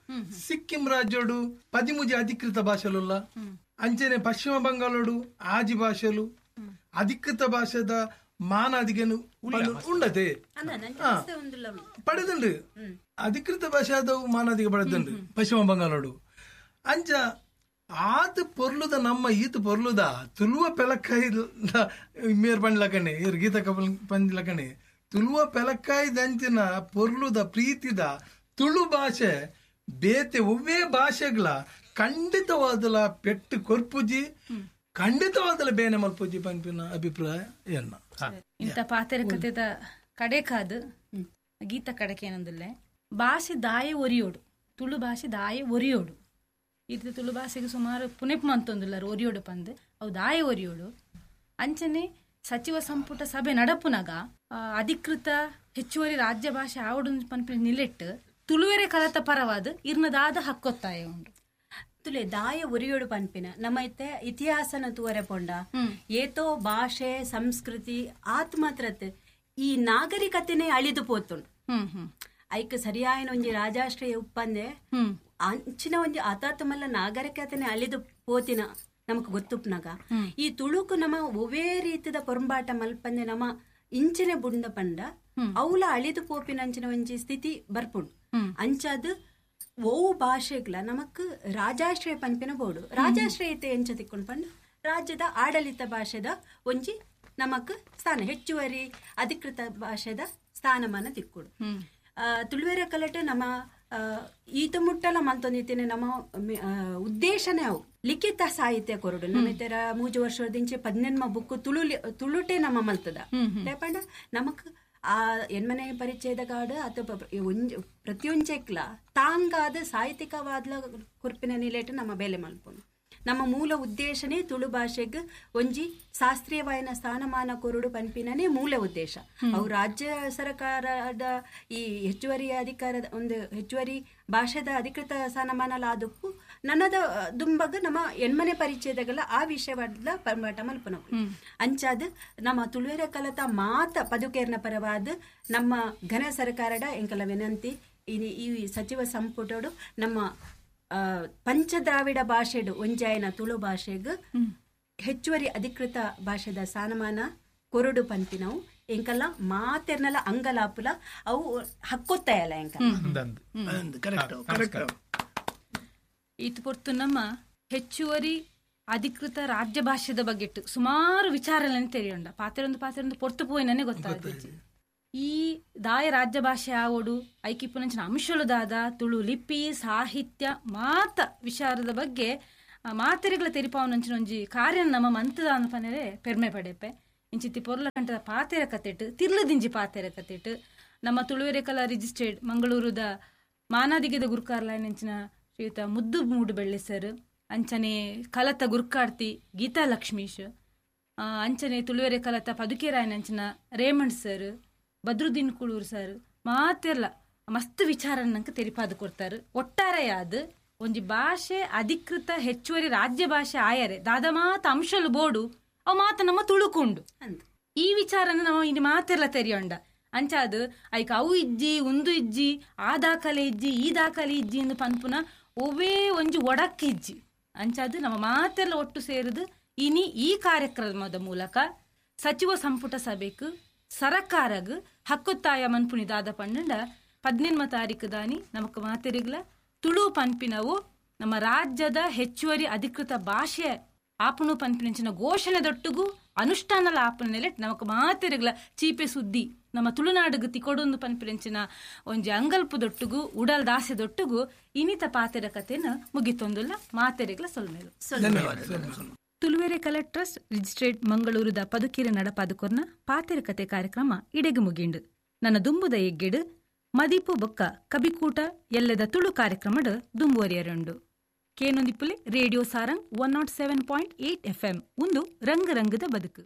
ಸಿಕ್ಕಿಂ ರಾಜ್ಯಡು 13 ಅಧಿಕೃತ ಭಾಷೆಲುಲ್ಲ. ಅಂಚನೆ ಪಶ್ಚಿಮ ಬಂಗಾಳಡು 6 ಭಾಷೆಲು ಅಧಿಕೃತ ಭಾಷೆದ ಮಾನಾದಿಗೆನು ಉಂಡತೆ ಪಡೆದುಂಡು. ಅಧಿಕೃತ ಭಾಷೆ ಆದವು ಮಾನಾದಿಗೆ ಪಡೆದುಂಡು ಪಶ್ಚಿಮ ಬಂಗಾಳಡು. ಅಂಚ ಆತ ಪೊರ್ಲುದ ನಮ್ಮ ಈತ ಪೊರ್ಲುದ ತುಳುವ ಪೆಲಕ್ಕಾಯಿ ಮೇರ್ ಪಂಡ್ಲಕಣೆ ಇರ್ ಗೀತ ಪಂಡ್ಲಕಣೆ ತುಳುವ ಪೆಲಕ್ಕಾಯಿ ದಂಚಿನ ಪೊರ್ಲುದ ಪ್ರೀತಿದ ತುಳು ಭಾಷೆ ಬೇತೆ ಒವ್ವೇ ಭಾಷೆಗಳ ಖಂಡಿತವಾದಲ ಪೆಟ್ಟು ಕೊರ್ಪುಜಿ, ಖಂಡಿತವಾದಲ ಬೇನೆ ಮಲ್ಪುಜಿ ಪನ್ಪಿನ ಅಭಿಪ್ರಾಯ ಎನ್ನ. ಇಂಥ ಪಾತೆರ ಕಥೆದ ಕಡೆಕಾದು ಗೀತ ಕಡೆಕೆ ಏನಂದಿಲ್ಲ ಭಾಷೆ ದಾಯೆ ಒರಿಯೋಡು, ತುಳು ಭಾಷೆ ದಾಯೆ ಒರಿಯೋಡು. ಇದು ತುಳು ಭಾಷೆಗೆ ಸುಮಾರು ಪುನೆಪ್ ಮಂತೊಂದುಲ್ಲಾರು ಒರಿಯೋಡು ಪಂದು ಅವು ದಾಯೆ ಒರಿಯೋಡು. ಅಂಚನೆ ಸಚಿವ ಸಂಪುಟ ಸಭೆ ನಡಪುನಾಗ ಅಧಿಕೃತ ಹೆಚ್ಚುವರಿ ರಾಜ್ಯ ಭಾಷೆ ಆವಡು ಪನ್ಪಿನ ನಿಲೆಟ್ಟು ತುಳುವೆರೆ ಕಲತ ಪರವಾದ ಇರ್ನದಾದ ಹಕ್ಕೊತ್ತಾಯ ಉಂಡು. ತುಲೆ ದಾಯ ಒರಿಯೋಡು ಪನ್ಪಿನ ನಮ್ಮ ಇತ್ತೆ ಇತಿಹಾಸನ ತೂವರೆ ಪೊಂಡ ಏತೋ ಭಾಷೆ ಸಂಸ್ಕೃತಿ ಆತ್ ಮಾತ್ರತ್ ಈ ನಾಗರಿಕತೆನೇ ಅಳಿದು ಪೋತುಂಡು. ಐಕ್ ಸರಿಯಾಯಿನ ಒಂಜಿ ರಾಜಾಶ್ರಯ ಉಪ್ಪಂದೆ ಅಂಚಿನ ಒಂಜಿ ಆತಾತಮಲ್ಲ ನಾಗರಿಕತೆನೆ ಅಳಿದು ಪೋತಿನ ನಮಕ್ ಗೊತ್ತುಪ್ನಾಗ ಈ ತುಳುಕು ನಮ್ಮ ಒವೇ ರೀತಿದ ಪೊರಂಬಾಟ ಮಲ್ಪಂದೆ ನಮ್ಮ ಇಂಚಿನ ಬುಂಡ ಪಂಡ ಅವಲ ಅಳಿದು ಪೋಪಿನ ಅಂಚಿನ ಒಂಜಿ ಸ್ಥಿತಿ ಬರ್ಪುಂಡು. ಅಂಚಾದ ಓವು ಭಾಷೆಗಳ ನಮಕ್ ರಾಜಾಶ್ರಯ ಪನ್ಪಿನ ಬೋಡು. ರಾಜಾಶ್ರಯತೆ ಎಂಚ ತಿಕ್ಕೊಂಡು ಪಂಡ ರಾಜ್ಯದ ಆಡಳಿತ ಭಾಷೆದ ಒಂಜಿ ನಮಕ್ ಸ್ಥಾನ ಹೆಚ್ಚುವರಿ ಅಧಿಕೃತ ಭಾಷೆದ ಸ್ಥಾನಮಾನ ತಿಕ್ಕೊಡು. ತುಳುವೆರ ಕಲಟ ನಮ್ಮ ಈತ ಮುಟ್ಟಲ ಮಲ್ತೊಂದಿತ್ತೇನೆ ನಮ್ಮ ಉದ್ದೇಶನೇ ಅವು ಲಿಖಿತ ಸಾಹಿತ್ಯ ಕೊರಡು. ನಮ್ಮ ಇತರ 3 ವರ್ಷದಿಂಚೆ 18 ಬುಕ್ ತುಳು ತುಳುಟೆ ನಮ್ಮ ಮಲ್ತದ. ಪಂಡ ನಮಕ್ ಆ ಎನ್ಮನೆ ಪರಿಚಯದ ಕಾಡು ಅಥವಾ ಪ್ರತಿಯೊಂಚೆಕ್ಲ ತಾಂಗಾದ ಸಾಹಿತ್ಯಿಕವಾದ ಕುರ್ಪಿನ ನಿಲೇಟು ನಮ್ಮ ಬೇಲೆ ಮಲ್ಪುನು. ನಮ್ಮ ಮೂಲ ಉದ್ದೇಶನೇ ತುಳು ಭಾಷೆಗೆ ಒಂಜಿ ಶಾಸ್ತ್ರೀಯವಾಯಿನ ಸ್ಥಾನಮಾನ ಕೊರಡು ಪನ್ಪಿನೇ ಮೂಲ ಉದ್ದೇಶ. ಅವು ರಾಜ್ಯ ಸರ್ಕಾರದ ಈ ಹೆಚ್ಚುವರಿ ಅಧಿಕಾರದ ಒಂದು ಹೆಚ್ಚುವರಿ ಭಾಷೆದ ಅಧಿಕೃತ ಸ್ಥಾನಮಾನ ಆದಕ್ಕೂ ನನ್ನದ ದುಂಬಗ್ ನಮ್ಮ ಎನ್ಮನೆ ಪರಿಚಯದಗಲ ಆ ವಿಷಯವಾದ ಪರ್ಮಾಟ ಮಲ್ಪನ ಅಂಚಾದ ನಮ್ಮ ತುಳುವೆರ ಕಲತ ಮಾತ ಪದುಕೇರ್ನ ಪರವಾದ ನಮ್ಮ ಘನ ಸರ್ಕಾರದ ಎಂಕಲ ವಿನಂತಿ ಈ ಸಚಿವ ಸಂಪುಟೋಡು ನಮ್ಮ ಪಂಚದ್ರಾವಿಡ ಭಾಷೆಡು ಒಂಜಾಯನ ತುಳು ಭಾಷೆಗ್ ಹೆಚ್ಚುವರಿ ಅಧಿಕೃತ ಭಾಷೆದ ಸ್ಥಾನಮಾನ ಕೊರಡು ಪಂಪಿನವು ಎಂಕಲ್ಲ ಮಾತೆರ್ನಲ ಅಂಗಲಾಪುಲ ಅವು ಹಕ್ಕೊತ್ತಾಯಲ್ಲ ಎಂಕ. ಈತ ಪೊರ್ತು ನಮ್ಮ ಹೆಚ್ಚುವರಿ ಅಧಿಕೃತ ರಾಜ್ಯ ಭಾಷೆದ ಬಗ್ಗೆ ಸುಮಾರು ವಿಚಾರಗಳನ್ನು ತೆರೆಯುಂಡ ಪಾತೆರೊಂದು ಪಾತೆರೊಂದು ಪೊರ್ತು ಪೋಯಿನೇ ಗೊತ್ತಾಗ್ತದೆ. ಈ ದಾಯ ರಾಜ್ಯ ಭಾಷೆ ಆವೋಡು ಐಕಿಪ್ಪುನಂಚಿನ ಅಂಶಲು ದಾದ ತುಳು ಲಿಪಿ ಸಾಹಿತ್ಯ ಮಾತ ವಿಚಾರದ ಬಗ್ಗೆ ಮಾತೆರೆಗಳ ತೆರಿಪಾವನಂಚಿನ ಒಂಜಿ ಕಾರ್ಯ ನಮ್ಮ ಮಂತದ ಅನ್ಪನೆರೆ ಪೆರ್ಮೆ ಪಡೆಪೆ. ಇಂಚಿತ್ತಿ ಪೊರ್ಲ ಕಂಠದ ಪಾತೆರ ಕತೆಟ್ ತಿರ್ಲದಿಂಜಿ ಪಾತೆರ ಕತೆಟ್ ನಮ್ಮ ತುಳುವೆರೆ ಕಲಾ ರಿಜಿಸ್ಟರ್ಡ್ ಮಂಗಳೂರುದ ಮಾನಾದಿಗೆದ ಗುರುಕಾರ್ಲಾಯನಂಚಿನ ಶ್ರೀಯುತ ಮುದ್ದು ಮೂಡುಬೆಳ್ಳೆ ಸರ್, ಅಂಚನೆ ಕಲತ ಗುರುಕಾರ್ತಿ ಗೀತಾ ಲಕ್ಷ್ಮೀಶ್, ಅಂಚನೆ ತುಳುವೆರೆ ಕಲತ ಪದುಕೇರಾಯನಂಚಿನ Raymond sir, Badruddin Kuloor sir ಮಾತೆರ್ಲ ಮಸ್ತ್ ವಿಚಾರ ನಂಗೆ ತೆರಿಪಾದು ಕೊಡ್ತಾರೆ. ಒಟ್ಟಾರೆಯಾದ ಒಂಜಿ ಭಾಷೆ ಅಧಿಕೃತ ಹೆಚ್ಚುವರಿ ರಾಜ್ಯ ಭಾಷೆ ಆಯರೆ ದಾದ ಮಾತ ಅಂಶಲು ಬೋಡು ಅವು ಮಾತ ನಮ್ಮ ತುಳುಕುಂಡು ಈ ವಿಚಾರನ ನಮ್ಮ ಇನ್ನು ಮಾತೆರ್ಲ ತೆರಿಯೊಂಡ. ಅಂಚಾದ ಐಕ್ ಅವು ಇಜ್ಜಿ ಉಂದು ಇಜ್ಜಿ ಆ ದಾಖಲೆ ಇಜ್ಜಿ ಈ ದಾಖಲೆ ಇಜ್ಜಿ ಎಂದು ಪನ್ಪುನ ಒವೇ ಒಂಜಿ ಒಡಕ್ ಇಜ್ಜಿ. ಅಂಚಾದ ನಮ್ಮ ಮಾತೆಲ್ಲ ಒಟ್ಟು ಸೇರಿದು ಇನಿ ಈ ಕಾರ್ಯಕ್ರಮದ ಮೂಲಕ ಸಚಿವ ಸಂಪುಟ ಸಭೆಕ್ ಸರಕಾರಗ್ ಹಕ್ಕುತ್ತಾಯ ಮನ್ಪುನಿ ದಾದ ಪನ್ನಂಡ 18 ತಾರೀಕು ದಾನಿ ನಮಕ್ ಮಾತೆರಿಗ್ಲ ತುಳು ಪನ್ಪಿನವು ನಮ್ಮ ರಾಜ್ಯದ ಹೆಚ್ಚುವರಿ ಅಧಿಕೃತ ಭಾಷೆ ಆಪುಣು ಪನ್ಪಿನಂಚಿನ ಘೋಷಣೆ ದೊಟ್ಟುಗು ಅನುಷ್ಠಾನಲ ಆಪುನ ನಮಕ್ ಮಾತೆರಿಗ್ಲ ಚೀಪೆ ಸುದ್ದಿ ನಮ್ಮ ತುಳುನಾಡುಗು ತಿಕೊಡೊಂದು ಪನ್ಪಿನಂಚಿನ ಒಂಜಿ ಅಂಗಲ್ಪು ದೊಟ್ಟುಗು ಉಡಲ್ ದಾಸೆ ದೊಟ್ಟುಗು ಇನಿತ ಪಾತೆರ ಕತೆನ ಮುಗಿತೊಂದುಲ್ಲ. ಮಾತೆರಿಗ್ಲ ಸೊಲ್ಮೇಲು. ತುಳುವೆರೆ ಕಲಾ ಟ್ರಸ್ಟ್ ರಿಜಿಸ್ಟ್ರೇಟ್ ಮಂಗಳೂರುದ ಪದುಕೀರೆ ನಡಪಾದುಕೊರ್ನ ಪಾತೆರ ಕತೆ ಕಾರ್ಯಕ್ರಮ ಇಡೆಗು ಮುಗಿಂಡು. ನನ್ನ ದುಂಬುದ ಎಗ್ಗೆಡು ಮದಿಪು ಬೊಕ್ಕ ಕಬಿಕೂಟ ಎಲ್ಲದ ತುಳು ಕಾರ್ಯಕ್ರಮಡ್ ದುಂಬುವರಿಯರುಂಡು. ಕೇನೊಂದಿಪ್ಪುಲೆ ರೇಡಿಯೋ ಸಾರಂಗ್ 107.8 FM ಒಂದು ರಂಗ ರಂಗದ ಬದುಕು.